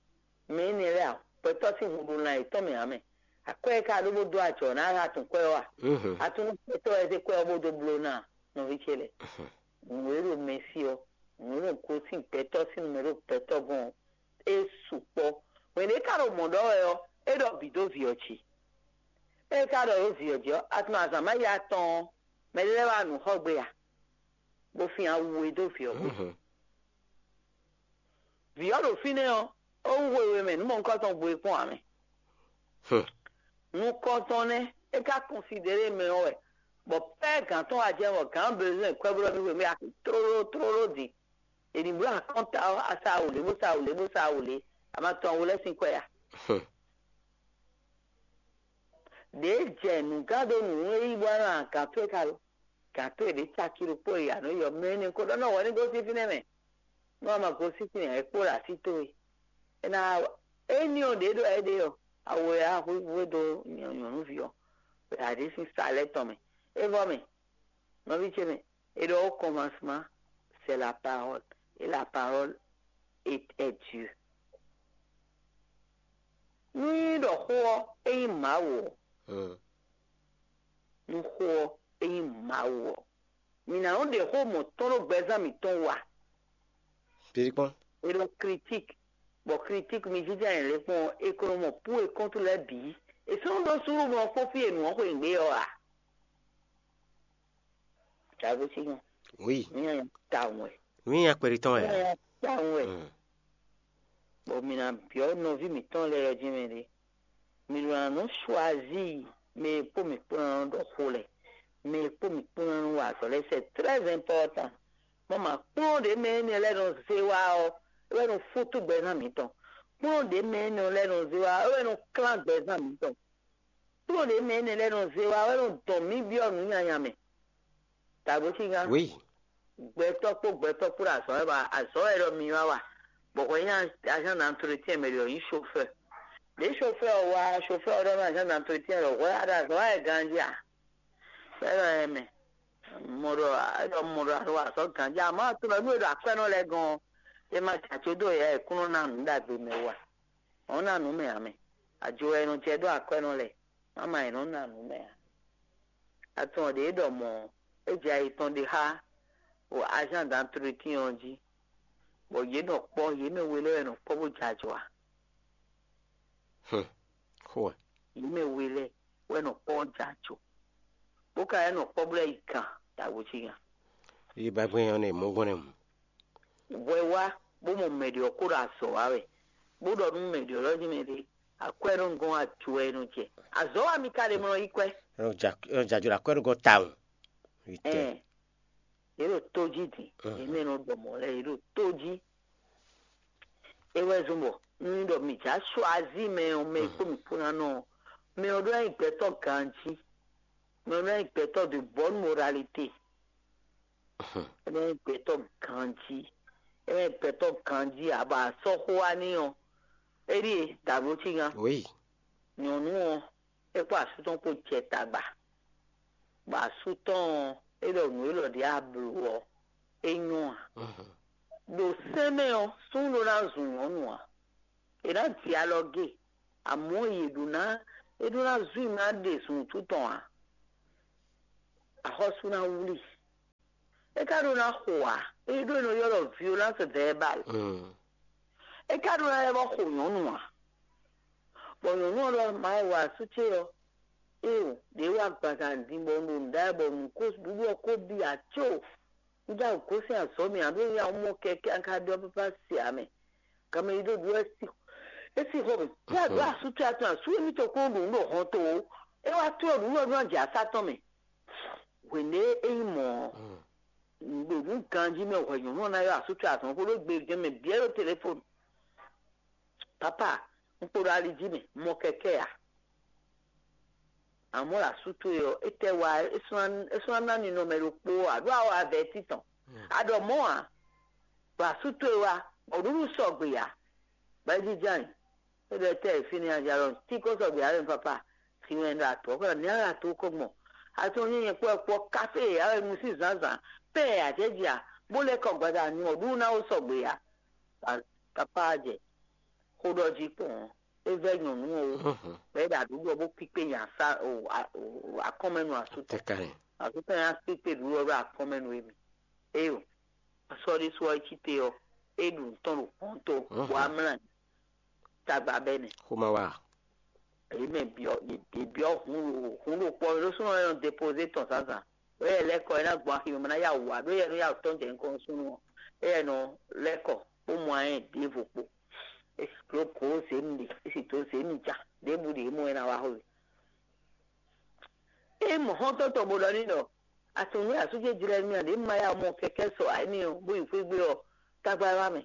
mɛ énɛ́ lɛ́ɛ a, gbɛtɔ́ sín hun ɖo lan yětɔn mɛ ǎ mɛ. Akwɛ́ e ka ɖó bó dó ajɔ ná a tunwun kwɛ́ ɔ́ a? Atunwun gbɛtɔ́ wɛ zé kwɛ́ ɔ́ bó dó bló ná nɔví ce lɛ́ɛ. Nǔ e ɖo mɛ sí ɔ́, nǔ e ɖo gosín gbɛtɔ́ sín nǔ mɛ ɖo gbɛtɔ́ gɔ́n ɔ́, é sukpɔ́. Hwɛ̌n ɖě ka ɖo mɔ̌ ɖɔ wɛ ɔ́, é ɖɔ bǐ dó vǐ ɔ́ jí. Ée é ka ɖɔ ɖó vǐ ɔ́ jí ɔ́, a tunwun azǎn má yi atɔn ɔ́, mɛɖé lɛ́ɛ wá nǔ xɔ gbe a? Bó fin awu e dó vǐ ɔ́ gbe. Vǐ ɔ́ ɖo fínɛ́ ɔ́, é wú hwehwe mɛ nǔ mɔ̌hunkɔtɔn gbo e kpɔ́n ǎ mɛ. Nukɔntɔn nɛ́ é ka kɔnsidéle mɛ ɔ́ wɛ, bɔ pɛ́ gǎn tɔn wá jɛ bɔ gǎn bezɔn kwɛ́ blɔ́ mì hwenu e a tlóló tlóló din. È nǐ bló akɔ́nta ɔ́, a sa wǔlé bó sa wǔlé bó sa wǔlé, a ma tɔn wú lɛ́ sín kwɛ́ a? Ɖěe jɛ nǔgán dó nǔ e yí bɔ nɔ agǎn towe ka lo. Gǎn towe ɖě caki ɖokpó e a nɔ yɔ mɛ énɛ́ ko ɖɔ nɔ wɛ ní gosín fínɛ́ mɛ. Nú a ma gosín fínɛ́ ǎ, é kpo ɖo así towe. É ná éní ɔ́ ɖě ɖɔ é ɖe ɔ́, awo e a hwíhwɛ́ dó nyɔ̌nuví ɔ́, ɖo aɖě sín sa lɛ́ɛ tɔn mɛ. É vɔ mɛ, nɔví ce mɛ, é ɖɔ au commencement, c'est la parole, et la parole est, est Dieu. Nú nyí ɖɔ xó ɔ́, é nyí Mawu ɔ́, nú xó ɔ́, é nyí Mawu ɔ́, mǐ ná nɔ ɖe xó mɔ̌tɔn ɖó gbɛzán mǐtɔn wú a? Kpéɖí kpɔ́n. É ɖɔ critique, bɔ critique mi jínjɔ́n ayǐ lɛ́ɛ kpɔ́n ɔ́, è ko nɔ mɔ pour et contre lɛ́ɛ bǐ. È sɔ́ nɔ ɖó súnnu bó nɔ kpɔ́n fí e nǔ ɔ́ xweyǐgbe ɔ́ ǎ. Tago sí nyɔ. Oui. Nú nyanya tawun wɛ. Nú nyanya kpɛɖi tɔn wɛ. Nú nyanya tawun wɛ. Bɔ mǐ ná byɔ́ nɔví mǐtɔn lɛ́ɛ ɔ́ jí mɛ ɖé. Mǐ ɖo ná nɔ choisir mɛ e kpó mǐ kpó ná nɔ ɖɔ xó lɛ́ɛ, mɛ e kpó mǐ kpó ná nɔ wa azɔ̌ lɛ́ɛ, c'est très important. Mɔ mǎ kplɔ́n ɖě mɛ énɛ́ lɛ́ɛ nɔ zé wá ɔ́, é wɛ nɔ fútú gbɛzán mǐtɔn. Kplɔ́n ɖě mɛ énɛ́ lɛ́ɛ nɔ zé wá ɔ́, é wɛ nɔ klán gbɛzán mǐtɔn. Kplɔ́n ɖě mɛ énɛ́ lɛ́ɛ nɔ zé wá ɔ́, é nɔ dɔn mǐ byɔ́ nǔ nyanya mɛ. Tago sí gán. Oui. Gbɛtɔ́ kpó gbɛtɔ́ kpó ɖo azɔ̌ wɛ ba azɔ̌ wɛ ɖɔ mi wá wa. Bɔ hwɛ nyí agent d'entretien mɛ ɖě ɔ́ nyí chauffeur. Ɖě chauffeur ɔ́ wá chauffeur ɔ́ ɖɔ nú agent d'entretien ɖɔ hwɛ a ɖo azɔ̌ wá wɛ ganjí a? Fɛ́nɔ ɛ mɛ. Mɔ ɖɔ ɖɔ mɔ ɖɔ a ɖo azɔ̌ ganjí a mɔ tunɔ nú e ɖo akwɛ́nɔ lɛ́ɛ gɔ́n ɔ́, é ma jɛ ajo dó yɛ e kún nɔ ná nǔ ɖagbe mɛ wú a? Ɔ́ ná nǔ mɛ ǎ mɛ. Ajo wɛ è nɔ jɛ ɖó akwɛ́nɔ lɛ́ɛ, má ma è nɔ ná nǔ mɛ ǎ. Atɔn ɖě ɖɔ mɔ̌, é jɛ ayi tɔn ɖe xá o agent d'entretien ɔ́ jí, bɔ yě nɔ kpɔ́, yě mɛ we lɛ́ɛ wɛ nɔ kpɔ́ bó jɛ ajɔ a? Xó wɛ. Yě mɛ we lɛ́ɛ wɛ nɔ kpɔ́ bó jɛ ajɔ, bó ka wɛ nɔ kpɔ́ bó lɛ́ yi gan dagbo cí gan. Yi ba gbɛn ɔ́ nɛ mɔ gbɔn nɛ mu. Hwɛ wá bó mɔ mɛ ɖě ɔ́ kó ɖo azɔ̌ wa wɛ, bó ɖɔ nú mɛ ɖě ɔ́ ɖɔ jí mɛ ɖě, akwɛ́ nɔ gɔ́n ajo wɛ nɔ jɛ. Azɔ̌ wa mi ka ɖe mlɔ yi kwɛ́. Ɔ jajɔ akwɛ́ nɔ gɔ́n tawun. Ɛn, yě ɖo tó jí din, yě mɛ nɔ ɖɔ mɔ̌ lɛ́ɛ yě ɖo tó jí. É wɛ zɔ́n bɔ un ɖɔ mǐ já choisir mɛ ɔ́, mɛ e kpó mǐ kpó ná nɔ ɔ́, mɛ ɔ́ ɖó ná nyí gbɛtɔ́ ganjí, mɛ ɔ́ ɖó ná nyí gbɛtɔ́ de bonne moralité. É ná nyí gbɛtɔ́ ganjí, é ná nyí gbɛtɔ́ ganjí ǎ, bɔ a sɔ́ xó wá n'i ɔ́, é ɖíe dǎbló cí gán. Oui. Nyɔ̌nu ɔ́, é kpó asú tɔn kpó jɛ tagba, bɔ asú tɔn ɔ́, é ɖɔ nǔ élɔ́ ɖě a blǒ ɔ́, é nyɔ́ ǎ. Ɖo sɛ́n mɛ ɔ́, súnnu ɖó ná zun nyɔ̌nu ǎ. È nǎ ji alɔ gé, Amɔ̌ yě ɖó ná é ɖó ná zú i ná ɖe zunwǔtu tɔn ǎ. Axɔ́sú ná wlí. É ka ɖó ná xo ǎ. É ɖó è nɔ ylɔ́ ɖɔ violence verbale. É ka ɖó ná lɛ́ vɔ́ xo nyɔ̌nu ǎ. Bɔ nyɔ̌nu ɔ́ ɖɔ: "Mawu, asú ce ɔ́, éeǒ, ɖě wá gbazan din bɔ un ɖo nǔ ɖa wɛ bɔ nǔ ko ɖuɖu ɔ́ ko bi ǎ có. Un já gosín azɔ̌ mɛ ǎ, ɖó un ya mɔ kɛkɛ́ an ka ɖɔ pápá se ǎ mɛ. Ganmɛ yi ɖó ɖu wɛ é sí xɔ mɛ. Yá ɖó asú ce atɔn asú émítɔn kó ɖo nǔ ɖo hɔn to ó. É wá tlɔ́ nǔ wɛ nú ajǎ sá tɔn mɛ." Hwěɖé é nyí mɔ̌ ɔ́, ɖo nǔ ganjí mɛ hwɛ nyɔ̌nu ɔ́ ná ylɔ́ asú ce azɔn xó ɖó gbe jɛ́n mɛ bǐ é ɖo telefonu. "Papa, un kpo ɖo ali jí mɛ, mɔ kɛkɛ́ ǎ." Amɔ̌ ɖo asú towe ɔ́, étɛ́ wá é sɔ́ ná ná ninɔmɛ ɖokpó ǎ, ɖó awɔ avɛ títɔn. A ɖɔ mɔ̌ ǎ, bɔ asú towe wá, bɔ nǔɖuɖu sɔgbe ǎ, bɔ é jínjɔ́n ayǐ. É ɖɔ étɛ́ e fínɛ́ a jɛ alɔ tí kó sɔgbe ǎ wɛ, papa, sin wɛ ɖo atɔ̌ kɔ ní ala tó kó gbɔn. Atɔ́ nyí nyɛ kpɔ́ kpɔ́ káfé e a wɛ nu sín zǎnzǎn, pɛ́n e a jɛ jɛ a, bó lɛ́ kɔ gbada nu ɔ́ ɖu ná ó sɔgbe ǎ. Papa jɛ xó ɖɔ jí kpɔn ɔ́, é vɛ́ nyɔ̌nu ɔ́, bɔ é ɖo aɖǔɖɔ bó kpíkpé nya sá akɔ́nmɛnu asú tɔn. Asú tɔn nya kpíkpé ɖǔɖɔ ɖó akɔ́nmɛnu émí. Éyo, asɔ́ ɖésú ɔ́ é cí te ɔ́, é ɖu nǔ tɔn ɖo hɔn tó, bɔ amlá tagba bɛ́ nɛ. Xó ma wa. Èyí mɛ byɔ́, yě byɔ́ hun ɖo hun ɖo kpɔ́ mɛ ɖó súnnu ɔ́ nɔ depozé tɔn zǎnzǎn. Ɖó yɛ lɛ́ kɔ é ná gbɔn axi mɛ bó ná yá wǔ wá, ɖó yɛ nɔ yá wǔ tɔn jɛ nukɔn nú súnnu ɔ́. É yɛ nɔ lɛ́ kɔ bó mɔ ayɛ́ ɖěvo kpo. É sì dó gǒ zě mi ɖe, é sì dó zě mi ja, ɖěbǔ ɖě mɔ é ná wá xo. É mɔ xɔ́ntɔn tɔn bó ɖɔ n'i ɖɔ: "Atɔn nú asú ce jlɛ́ mì a ɖě ma yá mɔ kɛkɛ́ sɔ ǎ énɛ́ ɔ́, bó yi xwé gbe ɔ́, tagba wá mɛ."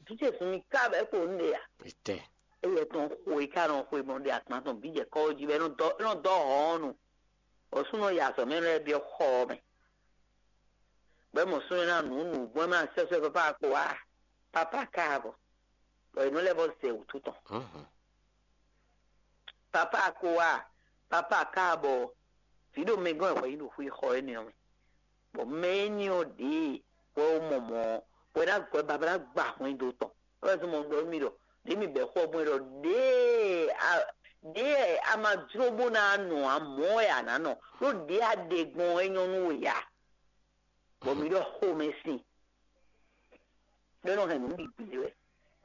Vǐ ce sun mi ká bɔ é kpo nǔ ɖe ǎ. Etɛ. Éyɛ tɔn xo e ká nɔ xwe mɔ ɖe akpan tɔn bǐ jɛ kɔ́ jí bɔ é nɔ dɔ é nɔ dɔ hɔn ɔ́ nu. Bɔ súnnu ɔ́ yi azɔ̌ mɛ lɛ́ɛ byɔ́ xɔ ɔ́ mɛ. Bɔ é mɔ súnnu ɔ́ ná nǔ nǔgbɔn ɛ má sɛ́ sɛ́ pápá kpo wá. Pápá ká bɔ. Bɔ è nɔ lɛ́ vɔ zɛ wǔtu tɔn. Papa ko wá, papa ka bɔ vǐ ɖo mɛ gɔ́n wɛ hwɛ nyi ɖo xwé xɔ énɛ́ ɔ́ mɛ. Bɔ mɛ énɛ́ ɔ́ ɖě wɛ wó mɔ mɔ̌ ɔ́, wɛ ná gbɔ baba ná gba hwɛndo tɔn. É wɛ zɔ́n mɔ ɖɔ mì ɖɔ ɖě mì bɛ̌ xɔ gbɔn ɖɔ ɖě a ɖě a ma jló bó ná nɔ ǎ, mɔ̌ wɛ a nǎ nɔ, ɖó ɖě a ɖe gbɔn ɔ́ é nyɔ́ nú we ǎ. Bɔ mǐ ɖɔ xomɛsin, ɖó é nɔ hɛn nǔ bǐ gblé wɛ.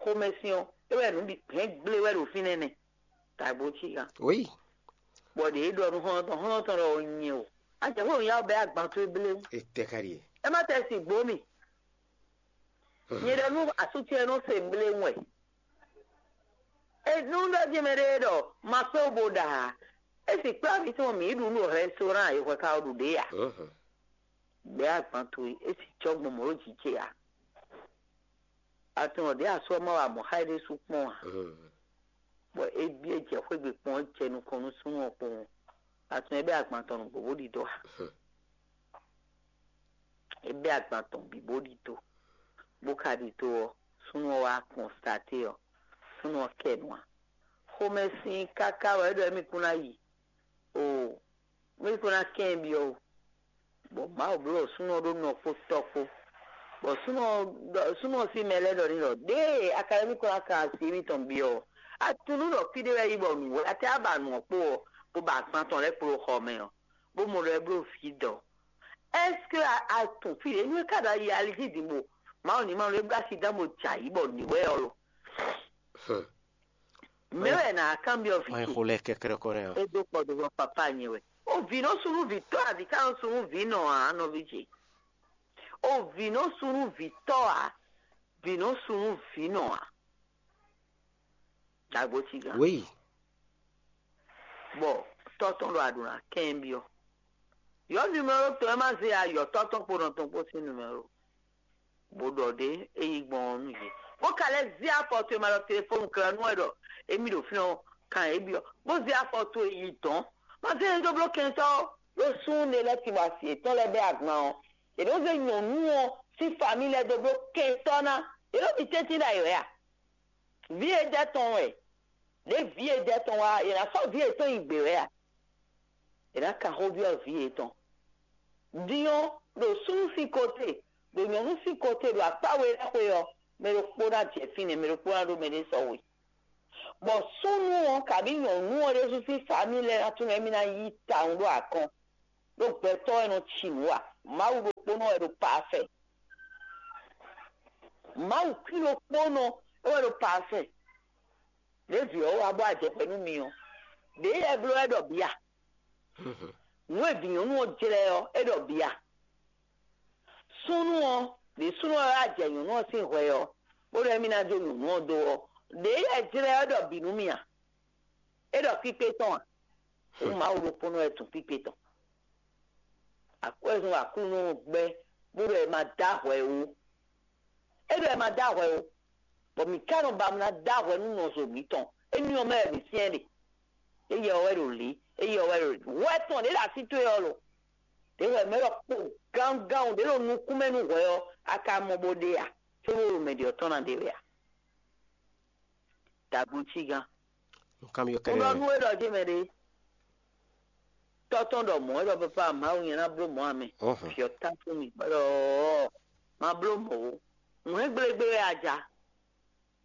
Xomɛsin ɔ́, é wɛ nǔ bǐ hɛn gblé wɛ ɖo fínɛ́ nɛ́. Tagbo cí kan. Oui. Bɔ ɖě é ɖɔ nú xɔ́ntɔn, xɔ́ntɔn ɖɔ nyɛ o. Ajɛ xó nyá bɛ agban towe bléwún. Etɛ ka ɖie. É má tɛ si gbó mì. Nyɛ ɖɔ nú asú ce nɔ se bléwún wɛ. Enú ɖɔ jí mɛ ɖé ɖɔ ma kpé bo ɖa ǎ. É sì kplá vǐ tɔn mǐ ɖu nú restaurant e hwɛ ka ɔ́ ɖu ɖě ǎ. Bɛ̌ agban towe, é sì cɔ́ gbɔn mɔ̌ ɖo jǐ ce ǎ. Atɔn ɖě asú ɔ́ má wa mɔ̌ xá é ɖésú kpɔ́n ǎ. Bɔ é byɔ́ jɛ xwé gbe kpɔ́n, é jɛ nukɔn nú súnnu ɔ́ kpowun. Atɔn é bɛ́ agban tɔn nǔgbó bó ɖidó ǎ. É bɛ́ agban tɔn bǐ bó ɖidó, bó ka ɖidó ɔ́, súnnu ɔ́ wá kɔnstaté ɔ́, súnnu ɔ́ kɛ nu ǎ. Xomɛ sín káká wɛ é ɖɔ émí kún ná yi. Oo, émí kún ná kɛn byɔ́ o. Bɔ Mawu bló súnnu ɔ́ ɖó nɔ kpó tɔ́ kpó. Bɔ súnnu ɔ́ ɖɔ- súnnu ɔ́ sín mɛ lɛ́ɛ ɖɔ n'i ɖɔ: "Ɖěe a ka lɛ́ mì kplɔ́n ná kan asi émítɔn byɔ́ ɔ́, a tunú ɖɔ fí ɖé wɛ é yi bɔ nǔ wɛ a tɛ ba nu ɔ́ kpo ɔ́, bó ba agban tɔn lɛ́ɛ kpló xɔ mɛ ɔ́, bó mɔ ɖɔ é bló vǐ dɔ̌. Ɛ́seke a a tunwun fí ɖě nú é ka ɖo ayi ali jí din bo Mawu ní ma ɖó é bló asi dán bo jɛ ayǐ bɔ nǔ wɛ ɔ́ lo?" Mɛ wɛ nǎ kanbyɔ́ vǐ ce. Xo lɛ kɛkɛrɛ kɔ nɛ ɔ́. É dó kɔ do vɔ papá nyɛ wɛ. O vǐ nɔ sú nú vǐ tɔ́ a, vǐ ka nɔ sú nú vǐ nɔ ǎ, nɔví ce. O vǐ nɔ sú nú vǐ tɔ́ a, vǐ nɔ sú nú vǐ nɔ ǎ. Dagbo ci gán. Oui. Bɔ tɔ́ tɔn ɖo aɖǔ ná kɛn byɔ́. Yɔ numéro tɔn ɛ má zé a, yɔ tɔ́ tɔn kpo nɔ tɔn kpo sín numéro. Bó ɖɔ ɖě é yi gbɔn ɔ́ nú yě. Bó ka lɛ́ zé afɔ towe ma ɖɔ telefónu kla nú wɛ ɖɔ émí ɖo fínɛ́ ɔ́, kan é byɔ́. Bó zé afɔ towe yi dɔ̌n. Ma zé nyɛ dó bló kɛntɔ́ ó. Ɖó súnnu ɖé lɛ́ɛ tin bɔ asi yětɔn lɛ́ɛ bɛ́ agban ɔ́, yě nɔ zé nyɔ̌nu ɔ́ sín famí lɛ́ɛ dó bló kɛntɔ́ ná. Yě nɔ ɖi tɛ́ntin ɖ'ayǐ wɛ a? Vǐ e jɛ tɔn wɛ, ɖě vǐ e jɛ tɔn wá, yě ná sɔ́ vǐ yětɔn nyi gbě wɛ a? È nǎ kan xó byɔ́ vǐ yětɔn. Din ɔ́, ɖo súnnu sín kóte, ɖo nyɔ̌nu sín kóte, ɖo akpá we lɛ́ɛ xwe ɔ́, mɛ ɖokpó ná jɛ fínɛ́, mɛ ɖokpó ná ɖó mɛɖé sɔ́ we. Bɔ súnnu ɔ́, kabí nyɔ̌nu ɔ́ ɖésú sín famíli lɛ́ɛ ná tunwun émí ná yí tawun ɖó akɔn, ɖó gbɛtɔ́ wɛ nɔ ci nǔ ǎ. Mawu ɖokpónɔ wɛ ɖo pafɛ. Mawu kwín ɖokpónɔ é wɛ ɖo pafɛ. Ɖěvi ɔ́ wá bɔ ajɛxwɛ nú mi ɔ́, ɖěe yɛ bló wɛ ɖɔ bǐ a? Nǔ e vǐ nyɔ̌nu ɔ́ jlɛ́ ɔ́, é ɖɔ bǐ a? Súnnu ɔ́, ɖě súnnu ɔ́ wá jɛ nyɔ̌nu ɔ́ sín hwɛ ɔ́, bó ɖɔ émí ná jó nyɔ̌nu ɔ́ dó ɔ́, ɖěe yɛ jlɛ́ ɔ́ ɖɔ bǐ nú mì a? É ɖɔ kpíkpé tɔn a? Hǔn Mawu ɖokpónɔ wɛ tunwun kpíkpé tɔn. Akwɛ́zɔn Aklúnɔ ɔ́ gbɛ́, bó ɖɔ è ma dó ahwɛ ó. É ɖɔ è ma dó ahwɛ ó, bɔ mǐ ka nɔ ba mɔ ná dó ahwɛ nú nɔzo mǐtɔn. Éní ɔ́ mɛ wɛ mǐ syɛ́n ɖe. Éyɛ ɔ́ wɛ ɖo lě, éyɛ ɔ́ wɛ ɖo lě. Hwɛ tɔn ɖě ɖo así towe ɔ́ lo. Ɖě hwɛ mɛ ɖɔ kpo gángan ɖě ɖo nukún mɛ nú hwɛ ɔ́, a ka mɔ bó ɖe a? Cóbó ɖo mɛ ɖě ɔ́ tɔn ná ɖe wɛ a? Dagbo cí gán. Nú kanbyɔ́ Mo ɖɔ kɛ́ɖɛ́. Nú é ɖɔ jé mɛ ɖé. Tɔ́ tɔn ɖɔ mɔ̌ é ɖɔ papa Mawu nyɛ ná bló mɔ̌ amɛ. Ɔ́hɔn. Fyɔ tá fún mi. Bɔ ɖɔ má bló mɔ̌ ó. Nǔ hɛn gblégbé wɛ a ja.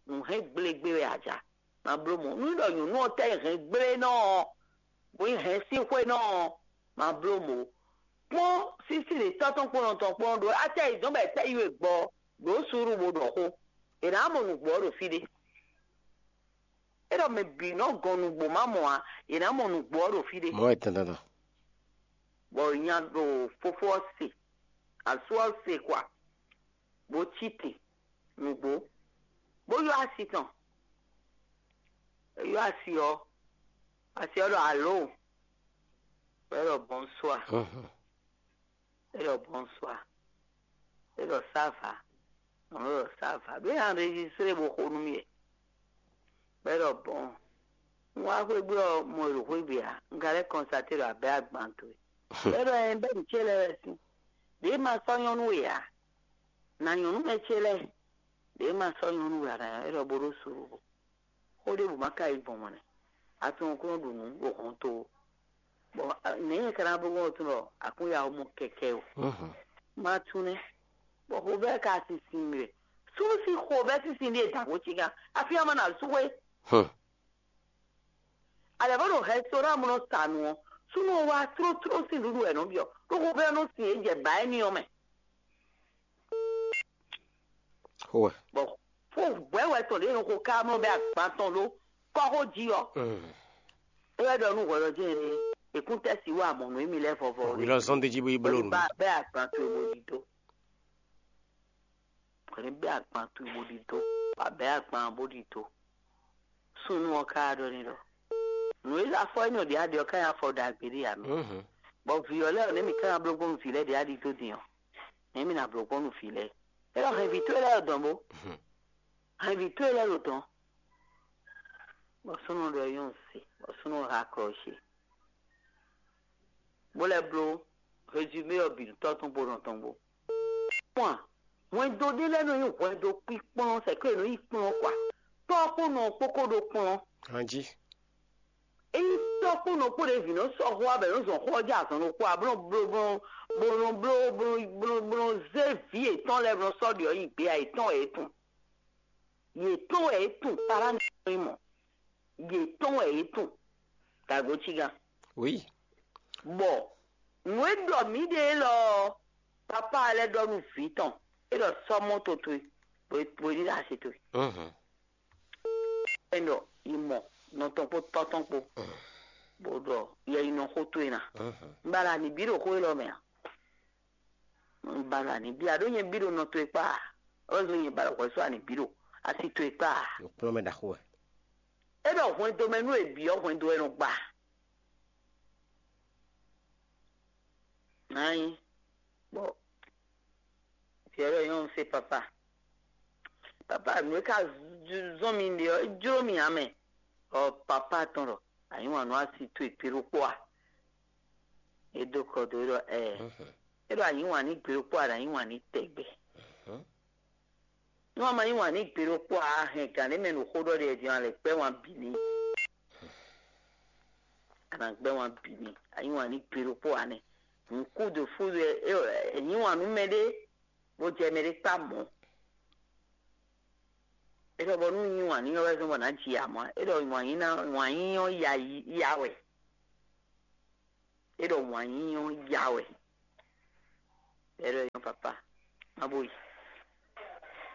Nǔ hɛn gblégbé wɛ a ja. Má bló mɔ̌. Nú é ɖɔ nyɔ̌nu ɔ́ tɛ́ hɛn gblé nɔ ɔ́, bó nyí hɛn sín xwé nɔ ɔ́, má bló mɔ̌ ó. Kpɔ́n sísí ɖě tɔ́ tɔn kpɔ́n nɔ tɔn kpɔ́n ɖó acɛ yědɔn bɔ è tɛ́ yi we gbɔ ɖǒ suúlu bó ɖɔ xó. È nǎ mɔ nǔgbó ɔ́ ɖo fí ɖé. É ɖɔ mɛ bǐ nɔ gɔn nǔgbó má mɔ ǎ, è nǎ mɔ nǔgbó ɔ́ ɖo fí ɖé. Mɔ̌ wɛ dandan. Bɔ nya ɖo fofó ɔ́ se, asú ɔ́ se kwa, bó cí te nǔgbó, bó ylɔ́ asi tɔn. É ylɔ́ asi ɔ́, asi ɔ́ ɖɔ alo, bɔ é ɖɔ bɔnsua. Mhm. É ɖɔ bɔnsua. É ɖɔ sava. Mɔ̌ é ɖɔ sava. Ɖó é enregistré bó xo nú mì wɛ. Bɔ é ɖɔ bɔn. Un wá xwé gbe ɔ́, mɔ è ɖo xwé gbe ǎ. Un ka lɛ́ kɔnstaté ɖɔ abɛ́ agban towe. Bɔ é ɖɔ ɛ bɛ́ nǔ ce lɛ́ɛ wɛ sín. Ɖě ma sɔ́ nyɔ́nú we ǎ. Na nyɔ̌nu mɛ ce lɛ́ɛ. Ɖě ma sɔ́ nyɔ́nú we ǎ, na é ɖɔ bó ɖó suɖu. Xó ɖěbǔ ma ka yi gbɔn mɔ̌ nɛ́. A tunwun kó nɔ ɖu nǔ ɖo hɔnto ó. Bɔ nɛ̌ nyɛ ka ná bló gbɔn tɔn ɖɔ akúnya ɔ́ mɔ kɛkɛ o? Mhm. Ma tunwun nɛ́. Bɔ xovɛ́ ka sinsin mì wɛ. Súnnu sín xovɛ́ sinsin ɖíe dǎngbó cígán. Afí ɔ́ ma na sú xwé. Hmm. Alɛ̌ bó ɖo rɛstorán mɔ nɔ sa nǔ ɔ́, súnnu ɔ́ wá tlótló sín nǔɖuɖu wɛ nɔ byɔ́. Ɖó xovɛ́ ɔ́ nɔ sin é jɛ bǎ éní ɔ́ mɛ. Xó wɛ. Bɔ fó hwɛ̌ wɛ tɔn ɖě nɔ xo ká mlɔ́ bɛ agban tɔn ɖó kɔ́xó jí ɔ́. Mm. É wɛ ɖɔ nú hwɛɖɔjɛ́n ɖé, èkúntɛ́ si wá mɔ nǔ émí lɛ́ɛ vɔvɔ. Wí lɔ zɔ́n d'é jí bó yi bló nǔ. Bá bɛ agban towe bó ɖi dó. Hwɛ̌ bɛ agban towe bó ɖi dó. Bá bɛ agban bó ɖi dó. Súnnu ɔ́ ká ɖɔ n'i ɖɔ nǔ e afɔ énɛ́ ɔ́ ɖě a ɖe ɔ́ ká nyí afɔ ɖagbe ɖé ǎ mɛ. Mhm. Bɔ vǐ ɔ́ lɛ́ɛ ɔ́, nɛ̌ mǐ ká ná bló gbɔn nú vǐ lɛ́ɛ ɖě a ɖi dó din ɔ́? Nɛ̌ mǐ ná bló gbɔn nú vǐ lɛ́ɛ? É ɖɔ hɛn vǐ towe lɛ́ɛ ɖo dɔ̌n bó. Mhm. Hɛn vǐ towe lɛ́ɛ ɖo dɔ̌n. Bɔ súnnu ɖɔ nyɔ́ se, bɔ súnnu ha klɔ ce. Bó lɛ́ bló résumé ɔ́ bǐ nú tɔ́ tɔn kpó nɔ tɔn kpó. Kpɔ́n a, hwɛndo ɖé lɛ́ɛ nɔ nyí hwɛndo kpíkplɔ́n, sɛ̌ kó è nɔ yi kplɔ́n kɔ a? Tɔ́ kpó nɔ kpó kó ɖó kplɔ́n. Ganjí. Ényí tɔ́ kpó nɔ kpó ɖě vǐ nɔ sɔ́ xó abɛ nɔ zɔn xó ɔ́ jɛ azɔn ɖokpó a, bó nɔ bló bó nɔ bló bó nɔ bló bó nɔ zé vǐ yětɔn lɛ́ɛ bó nɔ sɔ́ ɖě ɔ́ nyi gbé a, yětɔn wɛ é tun. Yětɔn wɛ é tun, pará ní mɔ. Yětɔn wɛ é tun. Dǎgbo cígán. Oui. Bɔ nǔ e ɖɔ mǐ ɖe élɔ́ ɔ́, papá lɛ́ɛ ɖɔ nú vǐ tɔn, é ɖɔ sɔ́ mɔ́to towe, bó bó ní ɖo asi towe. Mhm. É ɖɔ yi mɔ nɔ tɔn kpó tɔ́ tɔn kpó, bó ɖɔ yɛ yi nɔ xó towe ná. Mhm. Un ba la ní bí ɖo xó élɔ́ mɛ a? Un ba la ní bí a ɖó nyɛ bí ɖo nɔ towe kpá a? Ɔ́ zɔn nyɛ ba ɖo hwɛ̌ sɔ́ a ní bí ɖo asi towe kpá a? Nukplɔ́nmɛ ɖaxó wɛ. É ɖɔ hwɛndo mɛ nú è bǐ ɔ́, hwɛndo wɛ nɔ gba. Nǎ nyí bɔ Pierre nyɔ́ se papa. Papa, nǔ e ka zɔ́n mi ɖe ɔ́, é jló mi ǎ mɛ. Ɔ papa tɔn ɖɔ, anyǐ wǎn nú asi towe gbe ɖokpó a? É dó kɔ dó é ɖɔ ɛɛ. Mhm. É ɖɔ anyǐ wǎn ní gbe ɖokpó a, ɖo anyǐ wǎn ní tɛgbɛ. Mhm. Nú a ma yí wǎn ní gbe ɖokpó a, a hɛn gǎn ɖé mɛ ɖo xó ɖɔ ɖe din, a lɛ gbɛ́ wǎn bǐ n'i. A nǎ gbɛ́ wǎn bǐ n'i. A yí wǎn ní gbe ɖokpó a nɛ́. Nǔkúdǒ fúdó ɛ, ɛ, ɛ, yí wǎn nú mɛɖé, bó jɛ mɛɖé kpá mɔ̌. É ɖɔ bɔ nú nyi wǎn n'i ɔ́ wɛ zɔ́n bɔ nǎ ji amɔ̌. É ɖɔ wǎn yí ná wǎn yí ɔ́ ya yi ya wɛ. É ɖɔ wǎn yí ɔ́ ya wɛ. É ɖɔ nyɔ́ papa, má bo yi.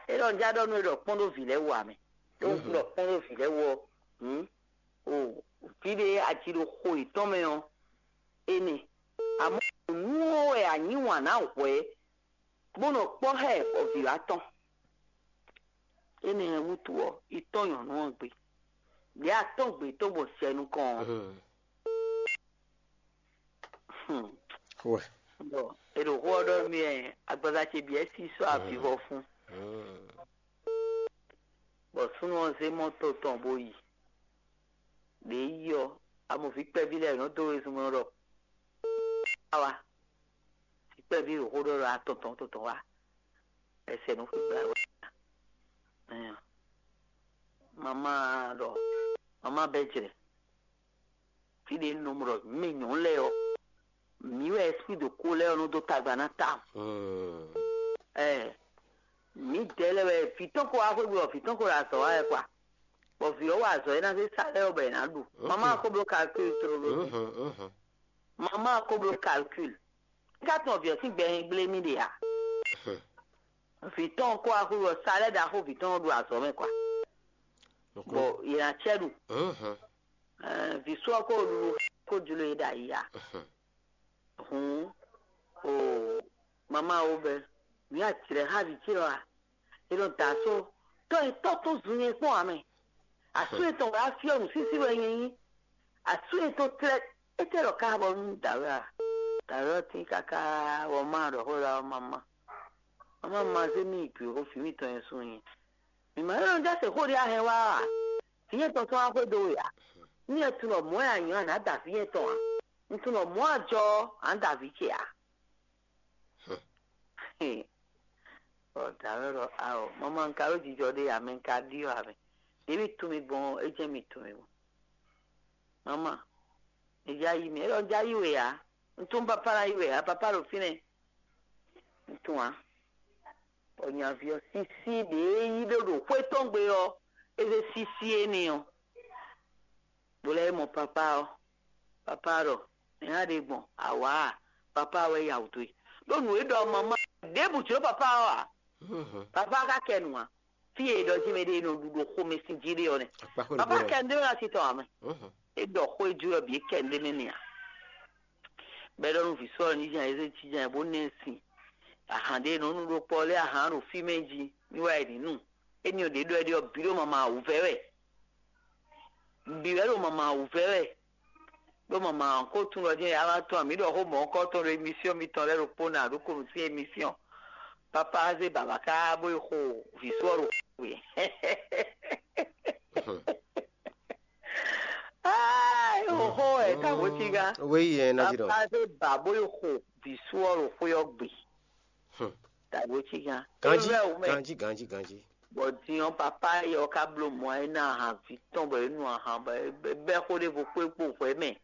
É ɖɔ un já ɖɔ nú é ɖɔ kpɔ́n ɖó vǐ lɛ́ɛ wú ǎ mɛ. Ɖó un ɖɔ kpɔ́n ɖó vǐ lɛ́ɛ wú ɔ́, hǔn o vǐ ɖé aji ɖo xo yětɔn mɛ ɔ́, énɛ́. Amɔ̌ nǔ ɔ́ wɛ a yí wǎn ná hwɛ̌ bó nɔ kpɔ́ xá ɛ bɔ vǐ wá tɔn. Énɛ́ wútu ɔ́, yi tɔ́n nyɔ̌nu ɔ́ gbe. Ɖě a tɔ́n gbe tɔn bɔ sɛ nukɔn ɔ́. Hmm. Wɛ. Bɔ è ɖo xó ɔ́ ɖɔ mì ɛ agbaza ce bǐ ɛ sí sɔ́ avivɔ fún. Bɔ súnnu ɔ́ zé mɔto tɔn bó yi. Ɖě yi ɔ́, amɔ̌ví kpɛví lɛ́ɛ nɔ dó wezun mɛ ɖɔ awa. Vǐ kpɛví ɖo xó ɖɔ ɖɔ atɔn tɔn tɔn wá. Ɛsɛ nɔ xwé gbla wɛ. Mama ɖɔ mama bɛ jrɛ. Fí ɖé nɔ ɖɔ mɛ nyɔ̌nu lɛ́ɛ ɔ́, mǐ wɛ esprit de ko lɛ́ɛ ɔ́ nɔ dó tagba ná ta. Ɛ mǐdɛɛ lɛ́ɛ wɛ vǐ tɔn ko wá xwé gbe ɔ́, vǐ tɔn ko ɖo azɔ̌ wa wɛ kwa. Bɔ vǐ ɔ́ wa azɔ̌ e ná zé sa lɛ́ɛ ɔ́ bɔ è nǎ ɖu. Mama ko bló calcul tlóló. Mama ko bló calcul. Nígbà tí wọn vǐ ɔ́ sín gbɛ nyi gblé mì ɖe ǎ. Vǐ tɔn kó wá xwé ɔ́, sa lɛ́ɛ ɖaxó vǐ tɔn ɖo azɔ̌ mɛ kwa. Bɔ yě ná cɛ ɖu. Vǐ sɔ kó ɖu kó jló e ɖo ayi ǎ. Hǔn o mama wo bɛ mǐ acrɛ xá vǐ ce ɔ́ a? È nɔ da só tɔ́ e tɔ́ tó zun nyɛ kpɔ́n ǎ mɛ. Asú etɔn wɛ á fyɔ́ nǔsísí wɛ nyɛ nyí. Asú etɔn tlɛ étɛ́ ɖɔ ká bɔ nú dǎwe a? Dǎwe ɔ́ tín káká bɔ má ɖɔ xó ɖɔ ɔ́ mama. Mama ma zé mì yi gbě xó fǐ mǐtɔn nyɛ sú nyɛ. Mǐ ma nɔ jásɛ xó ɖé a hɛn wá a? Vǐ nyɛ tɔn tɔn wá xwedó we a? Nú nyɛ tunɔ mɔ̌ wɛ a nyɔ̌ a nǎ da vǐ nyɛ tɔn a? Un tunɔ mɔ̌ a jɔ ɔ́, a nǎ da vǐ ce a? Ɔ dǎwe ɖɔ ao, mama un ka ɖó jijɔ ɖé ǎ mɛ, un ka ɖyɔ́ ǎ mɛ. Ɖě mì tunwun mi gbɔn ɔ́, é jɛ́n mi tunwun mi gbɔn. Mama, mi já yí mi, é ɖɔ un já yí we ǎ. Un tunwun papa ná yí we ǎ, papa ɖo fínɛ́. Un tunwun ǎ. Bɔ nyaví ɔ́ sísí ɖě yí ɖó ɖo xwé tɔn gbe ɔ́, é zé sísí énɛ́ ɔ́. Bó lɛ́ mɔ papa ɔ́, papa ɖɔ nɛ̌ a ɖe gbɔn awǎ a? Papa wɛ ya wǔ dó e. Ɖó nǔ e ɖɔ mama ɖěbǔ jló papa ɔ́ ǎ. Papa ka kɛ nǔ ǎ. Fí e è ɖɔ jí mɛ ɖé e nɔ ɖu ɖo xomɛ sín jí ɖé ɔ́ nɛ́. Papa kɛ ndé wɛ ná titɔ ǎ mɛ. É ɖɔ xó e jú wɛ bǐ é kɛ ndé nɛ́ nɛ ǎ. Bɔ é ɖɔ nú vǐ sɔ́ ɔ́ ní jan é zé jínjɔ́n ɛ bó ná ɛ sin. Ahan ɖé nɔ nú ɖó kpɔ́ lɛ́ɛ ahan ɖo fí mɛ jí ní wá yi ní nu. Éní ɔ́ ɖě ɖɔ é ɖe ɔ́ bǐ ɖo mama wǔvɛ́ wɛ. Bǐ wɛ ɖo mama wǔvɛ́ wɛ. Ɖó mama ko tún ɖɔ jɛ́n yá wá tɔn mǐ ɖɔ xó mɔ̌ kɔ tɔn ɖo émisíɔn mitɔn lɛ́ɛ ɖokpó ná ɖó konu sín émisíɔn. Papa zé baba ká bó yi xo vǐ sɔ́ ɖo xwe. Ai, oxó ɛ ka bó cí gán. Wéyi ɛ ná jí ɖɔ. Papa zé ba bó yi xo vǐ sɔ́ ɖo xwe ɔ́ gbe. Ka bó cí gán. Ganji, ganji, ganji, ganji. Bɔ din ɔ́ papa yɛ ɔ́ ka bló mɔ ɛ ná ahan vǐ tɔn bɔ é nu ahan bɔ é bɛ́ xó ɖěvo kpó é kpó hwɛ̌ mɛ.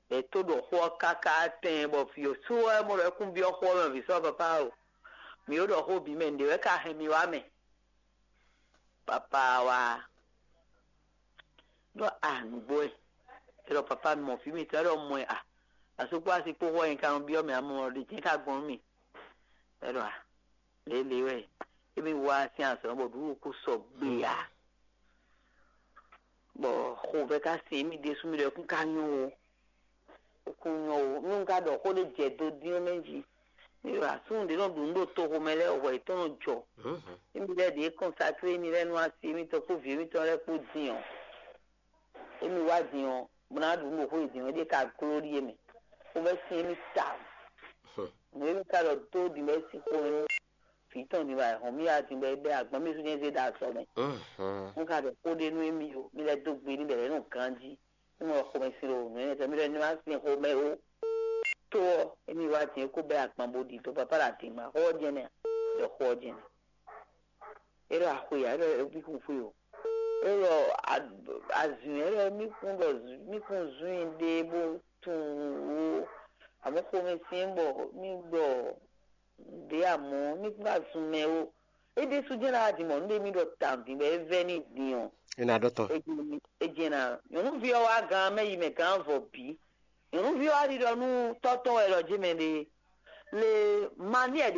È tó ɖo xó ɔ́ káká tɛn bɔ vǐ ɔ́ sú wɛ mɔ ɖɔ é kún byɔ́ xó ɔ́ mɛ vǐ sɔ́ papa o. Mǐ ó ɖɔ xó bǐ mɛ nǔɖé wɛ ka hɛn mi wá mɛ. Papa wá ɖɔ a nǔgbó ɛ. É ɖɔ papa mi mɔ vǐ mitɔn é ɖɔ mɔ ɛ a. Asú kpó asi kpó xó ɔ́ nyɛ ka nɔ byɔ́ mɛ amɔ ɖě jɛ́n ka gbɔn nú mì. É ɖɔ a lělé wɛ émi wá sín azɔ̌ bɔ ɖǔɖú kó sɔ gbé a. Bɔ xovɛ ka sin émi ɖésú mi ɖɔ kún ka nyɔ́ o. Kún nyɔ́ o. Nú un ka ɖɔ xó ɖé jɛ do dín ɔ́ mɛ jí. Mi ɖo asúnú ɖě nɔ ɖu nǔ ɖo toxo mɛ lɛ́ɛ hwɛ yětɔn nɔ jɔ. Émi lɛ́ɛ ɖě kɔnsaklé émi lɛ́ɛ nú asi émitɔn kpó vǐ émitɔn lɛ́ɛ kpó din ɔ́. Émi wá din ɔ́, bó ná ɖu nǔ ɖo xó e din ɔ́, é ɖíe ka gló ɖíe mɛ. Xó bɛ́ sin émi tawun. Nǔ émi ka ɖɔ dó din bɛ́ sín xó émi. Vǐ tɔn din wá hɔn mì wá din bɛ́ bɛ́ agbɔ̌n mì sú nyɛ zé ɖo azɔ̌ mɛ. Un ka ɖɔ xó ɖé nú émi o, mi lɛ́ dó gbe n'i bɔ è nɔ ganjí. Nú xomɛ sin ɖo nǔ énɛ́ tɔn, mi lɛ́ ní wá sin xomɛ ó. Tó ɔ́, émi wá din é kó bɛ́ agban bó ɖi dó papa ɖo adǐngba xó ɔ́ jɛ́n nɛ́ a? Ɖɔ xó ɔ́ jɛ́n nɛ́. É ɖɔ axwe ǎ, é ɖɔ é bí xwe xwe o. É ɖɔ azǐn ɛ ɖɔ mí kún ɖɔ mí kún zún i ɖe bó tunwun ó. Àmọ́ xomɛ syɛ́n bɔ mí ɖɔ ɖě amɔ̌ mí kún ka zun mɛ ó. É ɖésú jɛ́n ná wá din mɔ nú ɖé mì ɖɔ tawun din bɔ é vɛ́ n'i din ɔ́, É ná ɖɔ tɔn. é jɛ́n ná. Nyɔ̌nuví ɔ́ wá gan mɛ yi mɛ gǎn vɔ bǐ. Nyɔ̌nuví ɔ́ wá ɖiɖɔ nú tɔ́ tɔn wɛ ɖɔ jé mɛ ɖe. Le mani ɛ ɖě